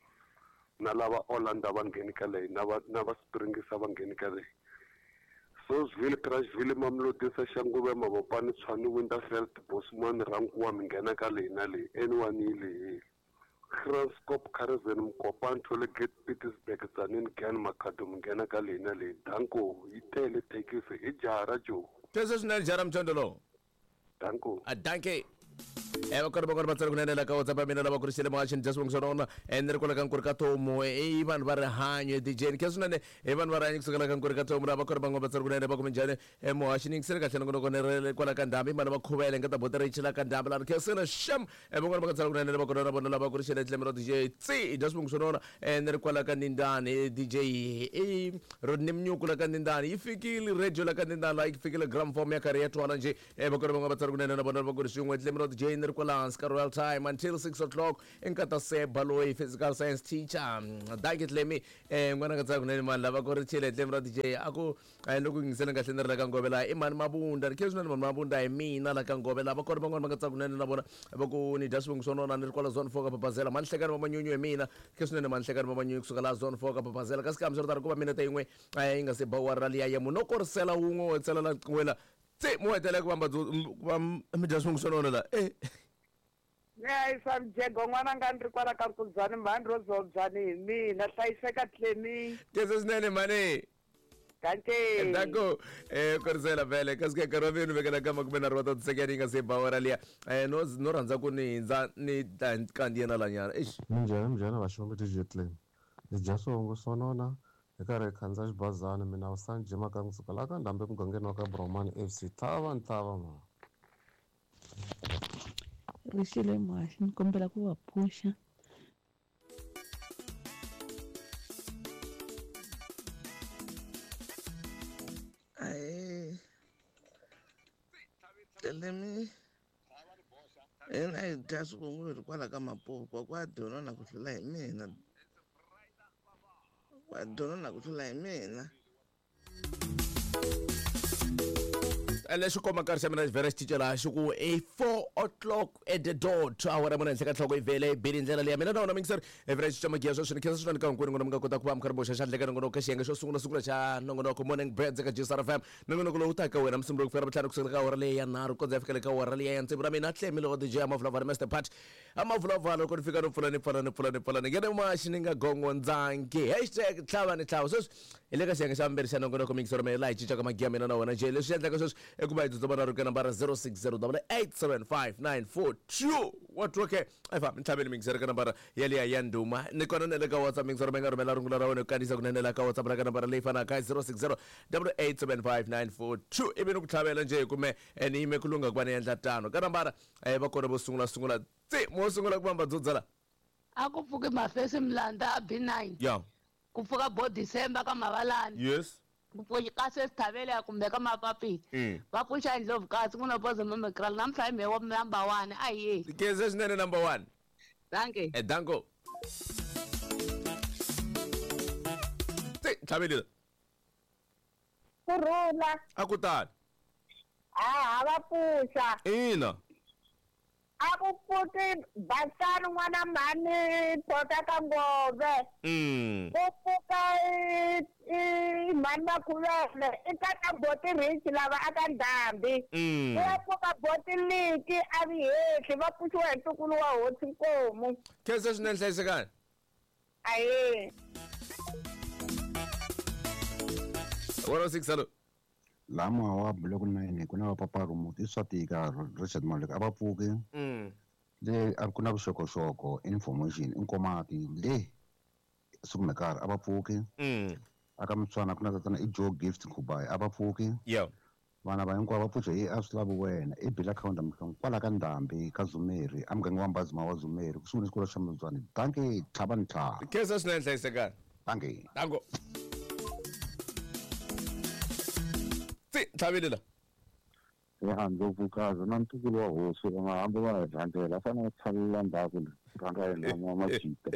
Speaker 12: na lava Orlando va ngheni ka leyi na va na va Springs va ngheni ka leyi Sosville Crashville Mamelodi Soshanguve Mabopane Tshwane Winterveld Bosman Rankuwa mi nghena ka leyi na leyi N one yi lehile Kranskop Karazen Mokopane Tollgate Pietersburg Tzaneen Gan Makhado mi nghena ka leyi na leyi danko yi tele thekisi i jara jo.
Speaker 1: Khensa swinene jara mthondo lowo.
Speaker 12: Danko.
Speaker 1: A dankie. Eh va kona va kona va tsala kunene la ka WhatsApp ya mina lava ku ri xile muhaxini dya swivungu swo nona ni ri kwala ka Nkuri ka Tomu i vanhu va rihanyo D J ni khensa swinene i vanhu va rihanyo kusukela ka Nkuri ka Tomu lava kona van'wana va tsala kunene va ku minjhani muhaxini yingisele kahle nongonoko ni ri kwala ka Ndhambi mani va khuvele nga ta bota ri chila ka Ndhambi lani khensile xem van'wana va nga tsala kunene lava kona na vona lava ku ri xile Tlemi ra D J tsi dya swivungu swo nona ni ri kwala ka Nindani D J i Rodney Mnyuku la ka Nindani yi fikile radio la ka Nindani la yi fikile gramophone ya karhi ya twala njhe va kona van'wana va tsala kunene na vona lava ku ri swin'we Tlemi ra D J ni ri kwala hansi ka Royal Time until six o'clock enkata Seba loyi physical science teacher dankie Tlemi eh n'wana nga tsaka kunene mani lava ku ri chile Tlemi ra D J a ku loko yingisele kahle ni ri la ka Ngove laha i mani Mabunda ri khe swinene mani Mabunda hi mina la ka Ngove lava kona van'wana va nga tsaka kunene na vona va ku ni dya swivungu swo nona ni ri kwala zone four ka Papazela mani hlekani va manyunyu hi mina khe swinene mani hlekani va manyunyu kusuka laha zone four ka Papazela kasi kambe swi ri tano ku va minete yin'we yi nga se ba wara liya ya munhu no korisela wun'we wo tsela la wela tse mo hetelela ku vamba va mi dya swivungu swo nona la eh
Speaker 4: Yayisa mjego n'wana nga ni ri kwala ka Nkudzani mhani ro zobyani hi mina hlayiseka Tlemi.
Speaker 1: Khensa swinene mhani.
Speaker 4: Dankie.
Speaker 1: Danko eh korisela vhele kasi ke nkarhi wa venu vekela ka makume nharhu wa tisekene yi nga se ba awara liya eh no no rhandza ku ni hindza ni ta kandziya na lanyana eish.
Speaker 15: Minjhani minjhani vaxongo D J Tlemi ni dya swivungu swo nona hi karhi hi khandziya xibazana mina Usani Jima ka kusuka laha ka Ndhambi emugangeni wa ka Bromani F C tlhava ntlhava ma.
Speaker 27: Rixile muhaxi ni kombela ku va pfuxa.
Speaker 6: Ahee Tlemi hina hi dya swivungu hi ri kwala ka Mapuve kwa dyona na ku hlula hi mina kwa dyona na ku hlula hi mina.
Speaker 1: Lexi komba nkarhi xa mina xi vhela xi cinca laha xi ku i four o'clock at the dot awara mune henhla ka nhloko yi vhele yi bile ndlela leya mina na wona mingiseri i vhela xi cinca magiya sweswi ni khensa swinene ka hinkwenu n'wina mi nga kota ku va mi karhi boxa xandla eka nongonoko ka xiyenge xo sungula sungula xa nongonoko Morning Birds eka G S R F M nongonoko lowu taka wena Musumbunuko ku fika Ravutlhanu kusukela ka awara leyi ya nharhu kondza ya fikela ka awara leyi ya tsevu ra mina Tlemi loko D J Amavulavula Mister Pat Amavulavula loko ni fika no pfula ni pfala ni pfula ni pfula ni nghena maxi ni nga gongondzangi hashtag tlhava ni tlhava sweswi hi le ka xiyenge xa vumbirhi xa nongonoko mingiseri mina laha hi cincaka magiya mina na wena njhe leswi endlaka sweswi Eku va hi tsutsuma na ri ka nambara zero six zero double eight seven five nine four two. Wa twa ke? A hi fambi ntlhaveni mingiseri ka nambara yaliya ya ndhuma. Ni kona na le ka WhatsApp mingiseri mi nga rhumela rungula ra wena ku kandziyisa kunene la ka WhatsApp ra ka nambara leyi fanaka zero six zero double eight seven five nine four two. Ivi ni ku tlhavela njhe hi kume ni yime ku lungha ku va ni endla tano. Ka nambara va kona vo sungula sungula tsi mo sungula ku vamba dzudzala.
Speaker 16: A ku pfuki mafesi Mlanda a B nine.
Speaker 1: Yeah.
Speaker 16: Ku pfuka bo December ka Mavalani.
Speaker 1: Yes.
Speaker 16: Ku pfuka ka Sesithavele kumbe ka Mapapila. Va pfuxa Ndlovu kasi ku na bozo Mamekral namhla hi mehe wa number one a hi.
Speaker 1: Keze swinene number one.
Speaker 16: Dankie.
Speaker 1: Eh danko. Tsi tlhavelile.
Speaker 17: Kurhula.
Speaker 1: A ku tani.
Speaker 17: A va pfuxa.
Speaker 1: Ina.
Speaker 17: A ku pfuki Basani n'wana mhani Tota ka Ngove.
Speaker 1: Mm.
Speaker 17: Ku pfuka i mhani Makhuvele i tata Boti Rich lava a ka Ndhambi.
Speaker 1: Mm.
Speaker 17: Ku ya pfuka Boti Liki a vi hehli va pfuxiwa hi ntukulu wa hosi Nkomu.
Speaker 1: Khensa swinene hlayisekani.
Speaker 17: Ahee.
Speaker 1: one oh six hello.
Speaker 18: Lama wa block nine ku na va papa remote i swa tika Richard Malek a va pfuki.
Speaker 1: Mm.
Speaker 18: Le a ku na vuxokoxoko information i nkomati le Sukumekar a va pfuki.
Speaker 1: Mm.
Speaker 18: Aka Mutswana ku na tatana i Joe Gift Khubai a va pfuki.
Speaker 1: Yeah.
Speaker 18: Vana va hinkwavo va pfuxa hi a swi lavi wena i Bill account Mhlongo kwala ka Ndhambi ka Zumeri a muganga wa Mbazima wa Zumeri kusuhi ni xikolo xa Mutswana. Dankie tlhava ni tlhava.
Speaker 1: Khensa swinene hlayisekani.
Speaker 18: Dankie.
Speaker 1: Danko. Tlhavelela.
Speaker 8: Ya Ndlovukazi na ntukulu wa hosi va nga hambi va hi rhangela fanele va tshalela ndzhaku rhanga yena wa majita.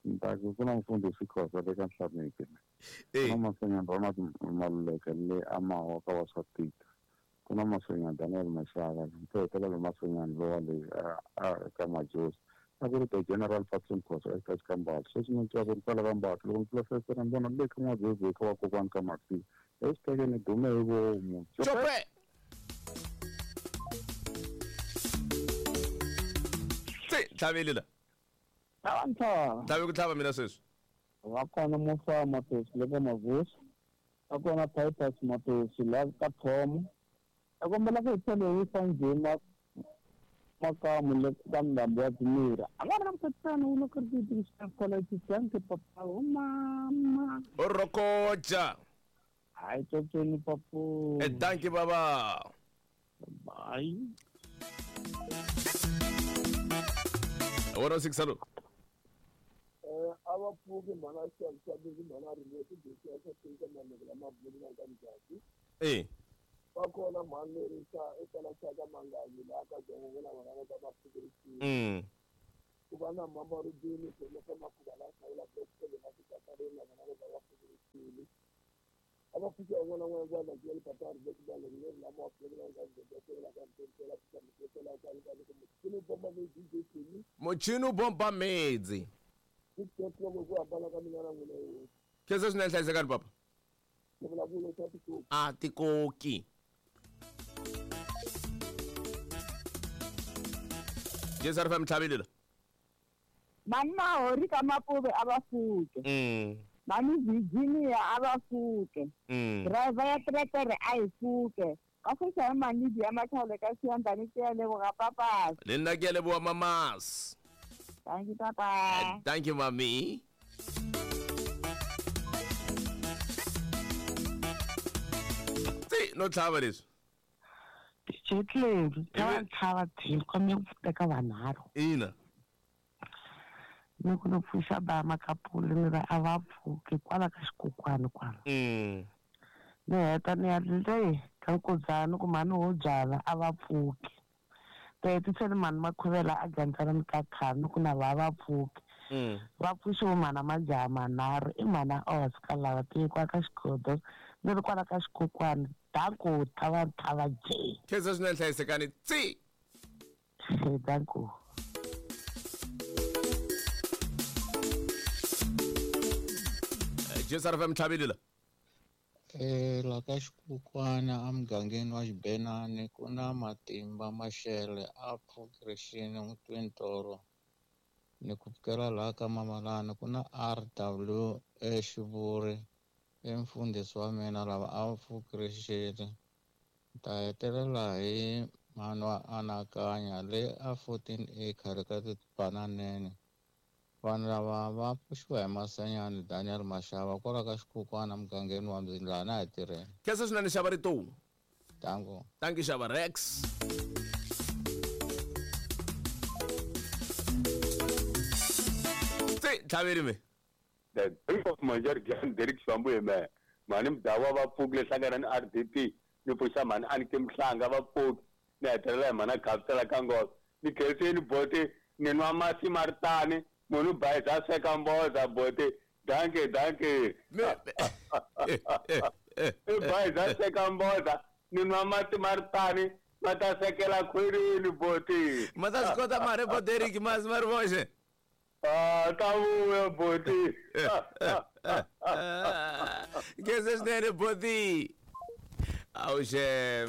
Speaker 8: Ndzhaku ku na mfundhisi Khosa le ka Nhlameki. Ku na Masenyana Ronald Maluleke le Amawa ka wa swa Tita. Ku na Masenyana Daniel Mashaka mpo hetelela Masenyana lowa le ka Majosi. A ku ri the General Patson Khosa eka Xikambala. Sweswi ni twa ku ri kwala ka Mbatha loko ni pfula fense ni vona le ka N'wabyebye ka vakokwani ka Maxi. Esiteke ni dume hi vomu.
Speaker 1: Chope. Tsi tlhavelela.
Speaker 19: Tlhava ntlhava.
Speaker 1: Tlhave ku tlhava mina sweswi.
Speaker 19: Va kona Musa Matosi le ka Mavuso. Va kona Titus Matosi la ka Thomo. Va kombela ku hi tlhela hi yisa ndzima makamu le ka Ndhambi wa Dzimira. A nga ri na mukhatisano wu loko ri ti college dankie papa o mama.
Speaker 1: O rokoja.
Speaker 19: Hayi tsotsoni papu.
Speaker 1: Eh dankie baba.
Speaker 19: Bye.
Speaker 1: one oh six hello.
Speaker 20: Eh a va pfuki mhana xavi mhana ri ti ya swa tika maleke lama bulu ka Mjati.
Speaker 1: Eh.
Speaker 20: Va kona mhani leri xa eka la xa ka Manganyi la ka Jongo na vana va va pfuki.
Speaker 1: Mm.
Speaker 20: Ku va na mama Rubini ku le ka Makhuva la hlawula block seven na Tikatarina na vana va va pfuki. A va pfuki un'wana na un'wana va na papa ri le ku va le lama pfuki na ka Jongo la ka Mtente la ka Mtente la ka ka Muchini bomba medzi D J Kimi.
Speaker 1: Muchini bomba medzi.
Speaker 20: Ku hambana ka mina na n'wina hi.
Speaker 1: Khensa swinene hlayisekani papa.
Speaker 20: Ni vulavula swa tikoki.
Speaker 1: A tikoki. Yes, R F M tlhavelela.
Speaker 4: Mani Mahori ka Mapuve a va pfuke.
Speaker 1: Mm.
Speaker 4: Mani Virginia a va pfuke.
Speaker 1: Mm.
Speaker 4: Driver ya teretere a yi pfuke. Ka fuxa hi Manidi ya Matlhale ka Xiyandani ke ya leboga papas.
Speaker 1: Le nna ke a leboha mamas.
Speaker 4: Thank you papa.
Speaker 1: Thank you mami. Tsi no tlhava leswi.
Speaker 4: D J Clem, tlhava ntlhava team kombela ku teka vanharhu.
Speaker 1: Ina.
Speaker 4: Ni ku no pfuxa ba Makapuli ni va a va pfuki kwala ka xikokwani kwala.
Speaker 1: Mm.
Speaker 4: Ni heta ni ya le ka Nkudzana ku mhani wo byala a va pfuki. Ti hetiseni mhani Makhuvela a gandzela ni ka khani ku na va va pfuki.
Speaker 1: Mm.
Speaker 4: Va pfuxiwe mhana majaha manharhu i mhana Oscar lava tekiwa ka xikodo ni ri kwala ka xikokwani danko tlhava ntlhava J.
Speaker 1: Khensa swinene hlayisekani tsi.
Speaker 4: Danko.
Speaker 1: J S R F M tlhavelela.
Speaker 21: Eh la ka xikukwana emugangeni wa Xibenani ku na Matimba Mashele a progression n'witwintoro ni ku pfukela laha ka Mamalani ku na R W Xivuri I mfundhisi wa mina lava a va pfukirixile. Ni ta hetelela hi mhani wa anakanya leyi a fourteen acre ka tibananene. Vanhu lava va pfuxiwa hi Masenyani Daniel Mashava kwala ka Xikukwana mugangeni wa Mzindlana hi tirheni.
Speaker 1: Khensa swinene xava rito.
Speaker 21: Tango.
Speaker 1: Thank you xava Rex. Tse tlhaveri me.
Speaker 2: The brief of Major John Derek Swambu me. Mani mdawa va pfukile hlangana ni R D P ni pfuxa mhani a ni ke mhlanga va pfuki ni hetelela hi mhana Gabisela ka nghozi ni khenseni boti ni nwa masi ma ri tani munhu bayiza a sweka mboza boti danke danke i bayiza a sweka mboza ni nwa mati ma ri tani ma ta swekela khwirini boti
Speaker 1: ma ta swi kota mari bo Derek masi ma ri voxe.
Speaker 2: Ah, ta vuya boti.
Speaker 1: Khensa swinene boti. Awuxe.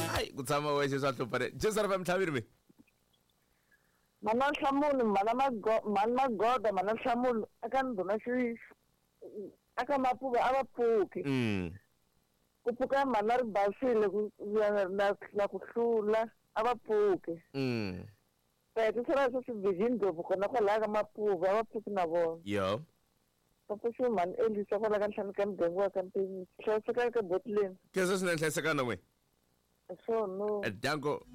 Speaker 1: Hayi ku tshama wexe swa hlupha ne. Jesu ri fa mtlhaveri me.
Speaker 4: Mana Nhlamulo, mana Mago, mana Magoda, mana Nhlamulo, aka ndhuna xi aka Mapuva a va pfuki.
Speaker 1: Mm.
Speaker 4: Ku pfuka mana ri basile ku na na, na ku hlula a va pfuki.
Speaker 1: Mm.
Speaker 4: Ti sala swi swi ndlopfu kona kwalaya ka Mapuva a va pfuki na vona.
Speaker 1: Yo.
Speaker 4: Va pfuxiwe mhani Elisa kwala ka ntlhanu ka muganga wa ka Mpinyi. Hlayiseka ka botleni.
Speaker 1: Khensa swinene hlayiseka na n'we.
Speaker 4: Swona.
Speaker 1: Danko.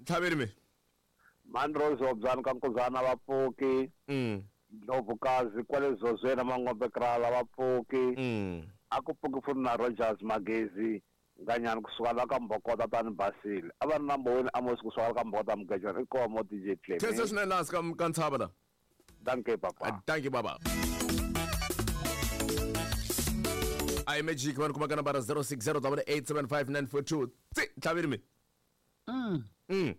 Speaker 1: Tlhaveri me.
Speaker 10: Mani Rose Obyani ka Nkuzana va pfuki.
Speaker 1: Mm.
Speaker 10: Ndlovukazi kwale Zozweni Mangombe Krala va pfuki.
Speaker 1: Mm.
Speaker 10: A ku pfuki futhi na Rogers Magezi Nganyani kusuka la ka Mbokota tani Basile. A va ri na Mboweni Amos kusuka la ka Mbokota Mugejwana i komo D J Clem.
Speaker 1: Khensa swinene laha ka ka ntshava la.
Speaker 10: Danke papa.
Speaker 1: Danke baba. I magic vanhu kuma ka nambara zero six zero double eight seven five nine four two. Tsi tlhaveri me.
Speaker 3: Mm.
Speaker 1: Mm.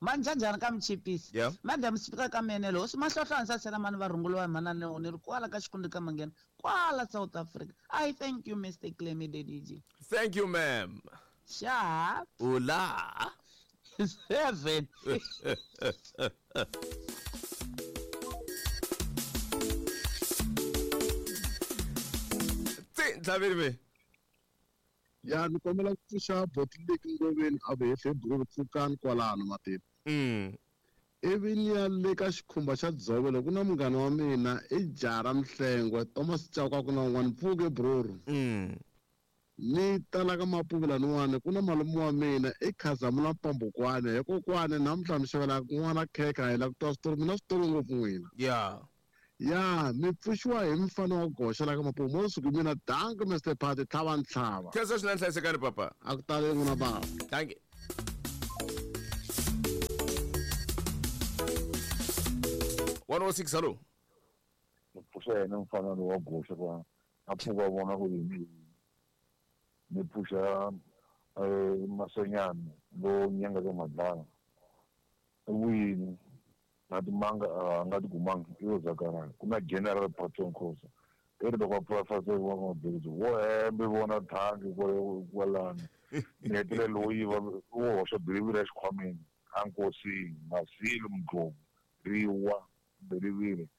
Speaker 3: Manjanjani ka Mchipisi.
Speaker 1: Yeah.
Speaker 3: Madam Speaker ka Menelo, hosi Mahlohlo ndza sela mani va rhunguliwa hi manana ni ri kwala ka xikundi ka Manghena, kwala South Africa. I thank you Mister Clemy the D J.
Speaker 1: Thank you ma'am.
Speaker 3: Sharp.
Speaker 1: Ula.
Speaker 3: Seven.
Speaker 1: Tsi tlhaveri me.
Speaker 24: Ya ni kombela ku pfuxa boti leki ngoveni a vehle buku pfukani kwalano matini.
Speaker 1: Mm.
Speaker 24: Ivi ni ya le ka xikhumba xa dzovo loko ku na munghana wa mina i Jara Mhlengwe Thomas Chauke ku na un'wana pfuke broro.
Speaker 1: Mm.
Speaker 24: Ni tala ka Mapuva laniwani ku na malume wa mina i Khazamula Mpambukwane hikokwani namuntlha mi xavela n'wana khekhe hi la ku twa switori mina switori ngopfu n'wina.
Speaker 1: Yeah.
Speaker 24: Ya mi pfuxiwa hi mfana wa goxa la ka Mapuva mo suku mina danke Mister Party tlhava ntlhava.
Speaker 1: Khensa swinene hlayisekani papa.
Speaker 24: A ku tali n'wina baba.
Speaker 1: Thank you. one oh six hello.
Speaker 8: Ni pfuxa yena mfana lowa goxa kwa a pfuka vona ku yini ni pfuxa Masenyani lo nyanga ka Madlala wini na timanga a nga tikumanga i yo zakarana ku na General Patson Khosa i ri loko a pfula wa mabindzu wo hembe vona thangi kwalano ni hetelela lowo yiva wo hoxa biriviri exikhwameni a nkosini Masilo Mdlovu riwa biriviri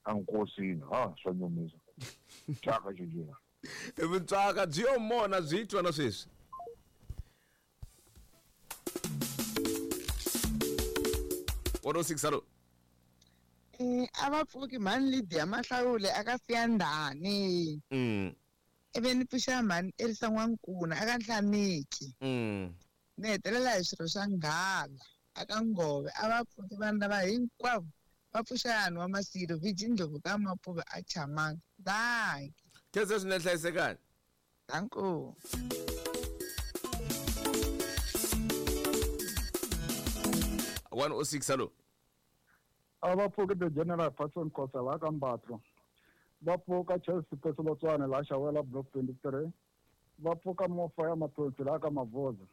Speaker 8: a nkosini ha swa nyumisa thyaka xexina
Speaker 1: Vutswaka byi yo mona byi twa na sweswi. one oh six hello.
Speaker 9: Eh a va pfuki mhani Lydia Mahlawule aka Siyandhani.
Speaker 1: Mm.
Speaker 9: Ivi ni pfuxa mhani Elisa N'wankuna aka Nhlamiki.
Speaker 1: Mm.
Speaker 9: Ni hetelela hi swirho swa Nghala aka Ngove a va pfuki vanhu lava hinkwavo va pfuxa yani wa Masilo Viji Ndlovu ka Mapuva a Chamanga. Dankie.
Speaker 1: Khensa swinene hlayisekani.
Speaker 9: Danko.
Speaker 1: one oh six hello.
Speaker 26: A va pfuki the General Patson Khosa la ka Mbatlo. Va pfuka Chelsea Pesolotshwane la Xawela Block twenty-three. Va pfuka Mofa ya Mathonsi la ka Mavoza.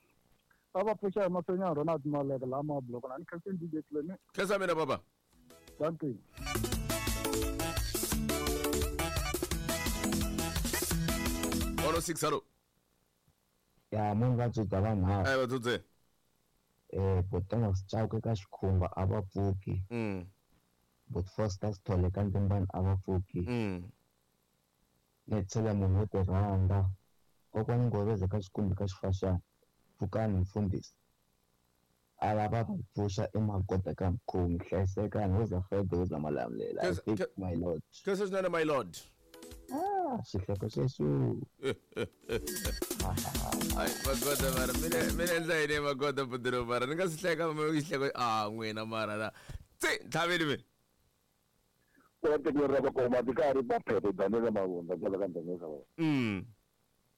Speaker 26: A va pfuxa hi Masenyani Ronald Maleke la Mabloko na ni Khensa D J Clemy.
Speaker 1: Khensa mina baba.
Speaker 26: Thank you.
Speaker 1: one oh six hello.
Speaker 27: Ya munhu va tsudza vanharhu.
Speaker 1: Eh va tsudze.
Speaker 5: Eh Botana Sechauke ka Xikhumba a va pfuki.
Speaker 1: Mm.
Speaker 5: Bot Foster Sithole ka Ntimbani a va pfuki.
Speaker 1: Mm.
Speaker 5: Ni tshela munhu wo ti rhandza. Kokwani Ngoveza ka Xikumbi ka Xifaxana. Pfukani mfundhisi. A lava va pfuxa emagoda ka mkhomi hlayisekani woza Fred woza Malamlela. I think my lord.
Speaker 1: Khensa swinene my lord.
Speaker 5: Ah, xihloko xexo.
Speaker 1: Ai magoda mara mina mina endla yini magoda budiro mara ni nga swi hleka mi xihleko a n'wina mara la tsi ntlhaveli mina
Speaker 7: Wa tekweni ra vakoma ti ka ri va phephe Daniel Mavunda kwala ka Ndhengeza wa.
Speaker 1: Mm.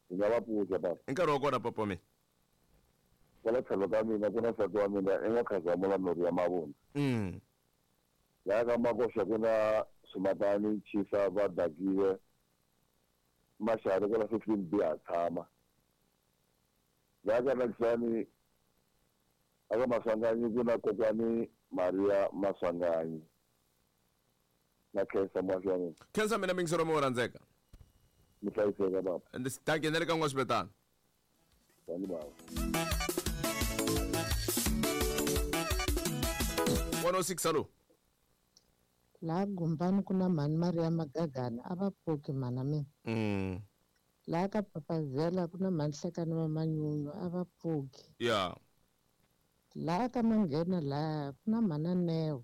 Speaker 7: Hi nga va pfuxa baba.
Speaker 1: I nkarhi wa kona papa mina.
Speaker 7: Kwala tlhelo ka mina ku na nsati wa mina i nga Khazamula Nhori ya Mavunda.
Speaker 1: Mm.
Speaker 7: Laha ka Makoxa ku na Swimatani Chisa va dakiwe Maxari kwala fifteen B ha tshama. Laha ka Nakisani aka Maswanganyi ku na kokwani Maria Maswanganyi. Na khensa muhaxi wa mina.
Speaker 1: Khensa mina mingisero mi wo rhandzeka.
Speaker 7: Mi hlayiseka baba.
Speaker 1: Dankie na le ka n'wa
Speaker 7: Tani baba.
Speaker 1: one oh six alo.
Speaker 6: Laha Gumbani ku na mhani Maria Magagana a va pfuki mhana mina.
Speaker 1: Mm.
Speaker 6: Laha ka Papazela ku na mhani Hlekani wa Manyunyu a va pfuki.
Speaker 1: Yeah.
Speaker 6: Laha ka Manghena laha ku na mhana Neo.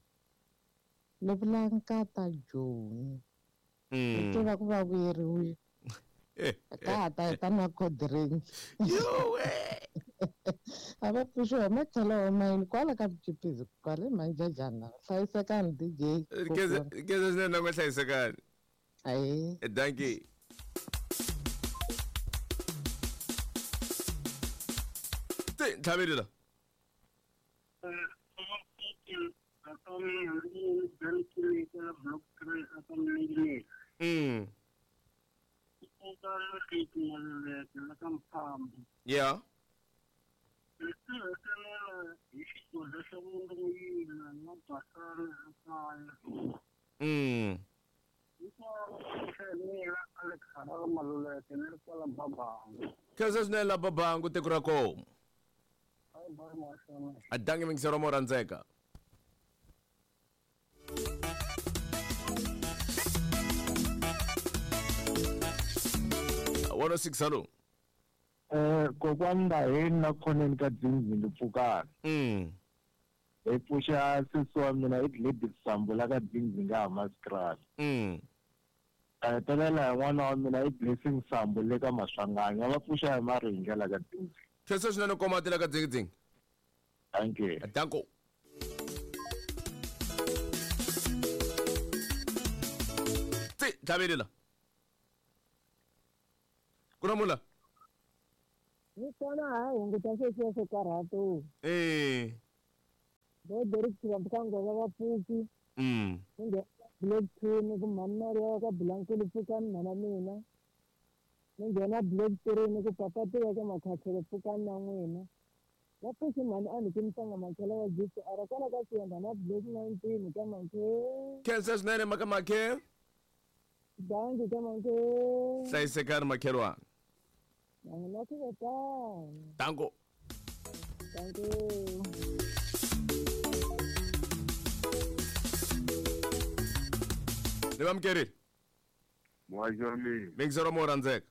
Speaker 6: Ni vula nkata Joni.
Speaker 1: Mm.
Speaker 6: Ni tiva ku va vuyeriwile. Ka ha ta hi ta nwa cold drink.
Speaker 1: Yowe.
Speaker 6: A va pfuxiwa hi matlhelo wa mayini kwala ka Mchipizi kwale Manjajana. Hlayisekani D J.
Speaker 1: Khensa khensa swinene na n'we hlayisekani.
Speaker 6: Ayi.
Speaker 1: Dankie. Tsi ntlhaveli la. Mm. Yeah. Mm. Khensa swinene la Babangu tiko ra kona. A dangi mingisero mo rhandzeka. one oh six alo.
Speaker 19: Eh kokwani Ndaheni na khoneni ka Dzingdzinghi pfukani.
Speaker 1: Mm.
Speaker 19: Hi pfuxa sesi wa mina i Gladys Sambo la ka Dzingdzinghi a Hammanskraal.
Speaker 1: Mm.
Speaker 19: A hetelela hi n'wana wa mina i Blessing Sambo le ka Maswanganyi. Va pfuxa hi Maringe la ka Dzingdzinghi.
Speaker 1: Khensa swinene komati la ka Dzingdzinghi.
Speaker 19: Dankie.
Speaker 1: Danko. Tsi ntlhaveli la. Ku na munhu la?
Speaker 11: Ni kona ha hunguta sweswiya swo karhata.
Speaker 1: Eh.
Speaker 11: Vo Derek Xivambukango va va pfuki.
Speaker 1: Mm.
Speaker 11: Ni nghena block two ni ku mhani Maria ka Bulankulu pfukani mhana mina. Ni nghena block three ni ku papa tiva ka Makhathele pfukani na n'wina. Va pfuxi mhani a ni ki mutanga Makhela wa G C R kwala ka Siyanda na block nineteen ka Makhe.
Speaker 1: Khensa swinene maka Makhe.
Speaker 11: Dankie ka Makhe.
Speaker 1: Hlayisekani makhelwani.
Speaker 11: Na ku vetana.
Speaker 1: Danko.
Speaker 11: Dankie.
Speaker 1: Ni va mukerile.
Speaker 13: Muhaxi wa mina.
Speaker 1: Mingisero mo rhandzeka.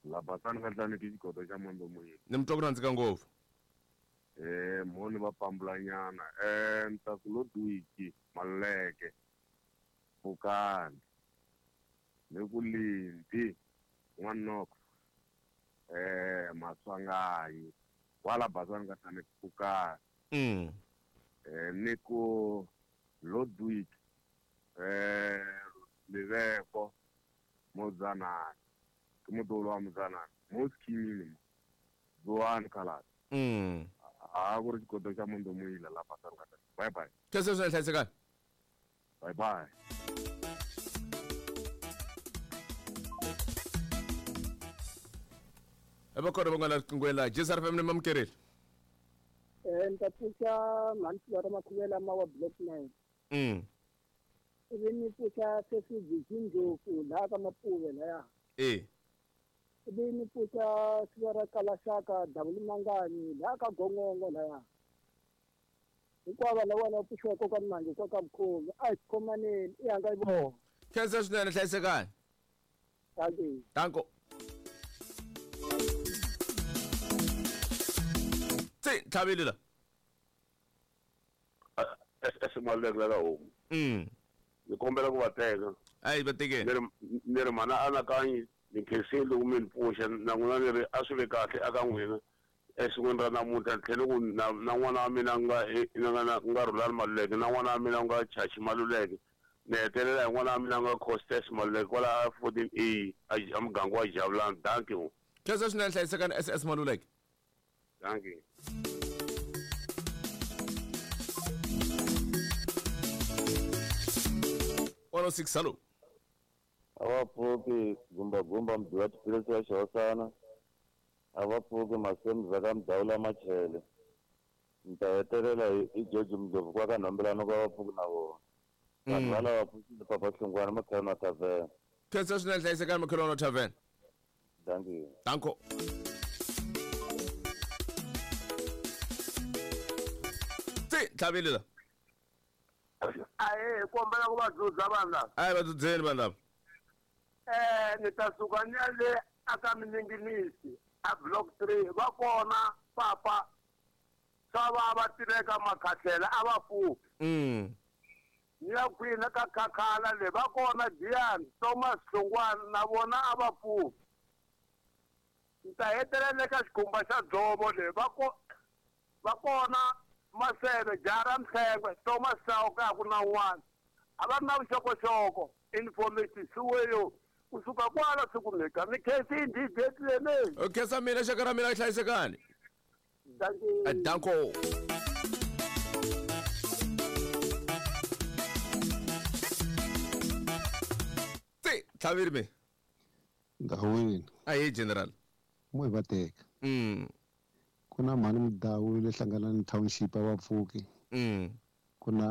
Speaker 13: La basani ka tlaniki xigodo xa Mambo Moyeni.
Speaker 1: Ni mi twa ku rhandzeka ngopfu.
Speaker 13: Eh mhoni va pambulanyana. Eh ni ta ku Lodwiki Maluleke. Pfukani. Ni ku Lindi N'wanoko. Eh Maswanganyi. Kwala basani ka tlaniki pfukani.
Speaker 1: Mm.
Speaker 13: Eh ni ku Lodwiki eh Liveko Mozanani. Ke modolo wa Mozanani. Mo schemini mo. Zoani Khaladi.
Speaker 1: Mm.
Speaker 13: A ku ri xikoto xa Mondo Moyila la basani ka tlaniki. Bye bye.
Speaker 1: Khensa swinene hlayisekani.
Speaker 13: Bye bye.
Speaker 1: Va kona van'wana riqinghweni laha J S R F M ni mamukerile.
Speaker 11: Eh ni ta pfuxa mhani Flora Makhuvela ma wa block nine.
Speaker 1: Mm.
Speaker 11: Ivi ni pfuxa sesi Ndlopfu laha ka Mapuve laya.
Speaker 1: Eh.
Speaker 11: Ivi ni pfuxa siva ra Kalaxaka Davula Manganyi laha ka Gongongo laya.
Speaker 20: Hinkwavo lava va pfuxiwa kokwani Mangi kwa ka Mkhomi a hi khomaneni i hanga yi vona.
Speaker 1: Khensa swinene hlayisekani.
Speaker 20: Dankie.
Speaker 1: Danko. Tsi tlhavile la.
Speaker 13: Esimaluleke la homu.
Speaker 1: Mm.
Speaker 13: Ni kombela ku va teka.
Speaker 1: Ayi va tekeni.
Speaker 13: Ni ri ni ri mana anakanyi ni khensile loko mi ni pfuxa na n'wina ni ri a swi ve kahle aka n'wina esikwini ra namuntlha ni tlhela ku na na n'wana wa mina nga nga nga Rhulani Maluleke na n'wana wa mina nga Chachi Maluleke ni hetelela hi n'wana wa mina nga Costes Maluleke kwala fourteen A a muganga wa Javulani. Thank you.
Speaker 1: Khensa swinene hlayisekani S S Maluleke.
Speaker 13: Thank you.
Speaker 1: one oh six hello.
Speaker 7: A va pfuki gumba gumba mudyi tiphilisi wa xihosana. A va pfuki masemza ka mudawula machele. Ni ta hetelela hi George Mdlovu kwa ka Nhombelano ka va pfuki na vona. Vanhu va lava pfuxile Papa Hlongwane Makhelwana Tavern.
Speaker 1: Khensa swinene hlayisekani Makhelwana Tavern.
Speaker 7: Thank you.
Speaker 1: Danko. Tsi tlhavile la.
Speaker 20: Ahe kombela ku va dzudza vanhu lava.
Speaker 1: Ayi va dzudzeni vanhu lava.
Speaker 20: Eh ni ta suka ni ya le aka Mininginisi a block three va kona papa swa va va tiveka Makhatlhela a va pfuki.
Speaker 1: Mm.
Speaker 20: Ni ya kwini ka Khakhala le va kona Diane Thomas Hlongwane na vona a va pfuki. Ni ta hetelela ka xikhumba xa dzovo le va ko va kona Maseve Jara Mhlengwe Thomas Chauke a ku na un'wana a va ri na vuxokoxoko information siweyo kusuka kwala swi kumeka ni khensini D J Clement.
Speaker 1: Khensa mina xaka ra mina hlayisekani.
Speaker 20: Dankie.
Speaker 1: Danko. Tsi tlhavile me.
Speaker 12: Ndhawini.
Speaker 1: Ayi general.
Speaker 12: Mo hi va teka.
Speaker 1: Mm.
Speaker 12: Ku na mhani Mudau le Hlanganani Township a va pfuki.
Speaker 1: Mm.
Speaker 12: Ku na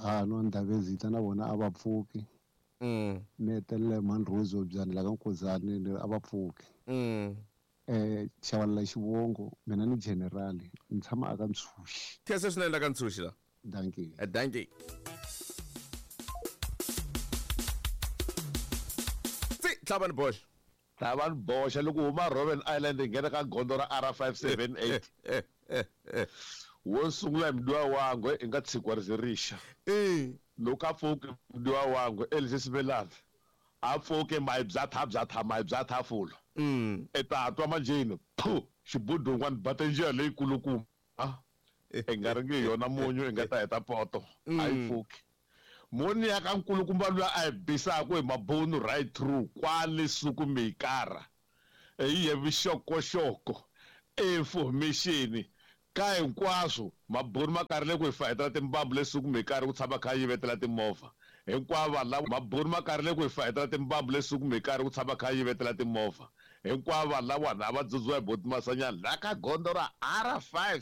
Speaker 12: Hano Ndhavezita na vona a va pfuki.
Speaker 1: Mm.
Speaker 12: Ni hetelela mhani Rose Obyani la ka Nkozani a va pfuki.
Speaker 1: Mm.
Speaker 12: Eh Xavalala xivongo mina ni general ni tshama aka Ntshuxi.
Speaker 1: Khensa swinene la ka Ntshuxi la.
Speaker 12: Dankie.
Speaker 1: Dankie. Tsi tlhavani boxa.
Speaker 14: Tlhavani boxa loko huma Robben Island hi nghena ka gondzo ra R five seven eight. Wo sungula hi mudyiwa wangwe i nga tshikiwa ri ze rixa. Loko a pfuki mudyiwa wangwe Elvis Simelane a pfuki mayibyatha byatha mayibyatha fula. I ta twa manjheni phu xibudungwani bata njiya leyikulukumba i nga ri nge yona munyu i nga ta heta poto a yi pfuki. Moni ya ka nkulukumba luya a yi bisaku hi mabunu right through kwale suku mikara hi ye vuxokoxoko information ka hinkwaswo mabunu ma karile ku hi fayetela timbambu lesuku mikara ku tshama kha yivetela timovha hinkwavo vanhu lava mabunu ma karile ku hi fayetela timbambu lesuku mikara ku tshama kha yivetela timovha hinkwavo vanhu lava a va dzudziwa hi boti Masanyana la ka gondzo ra R five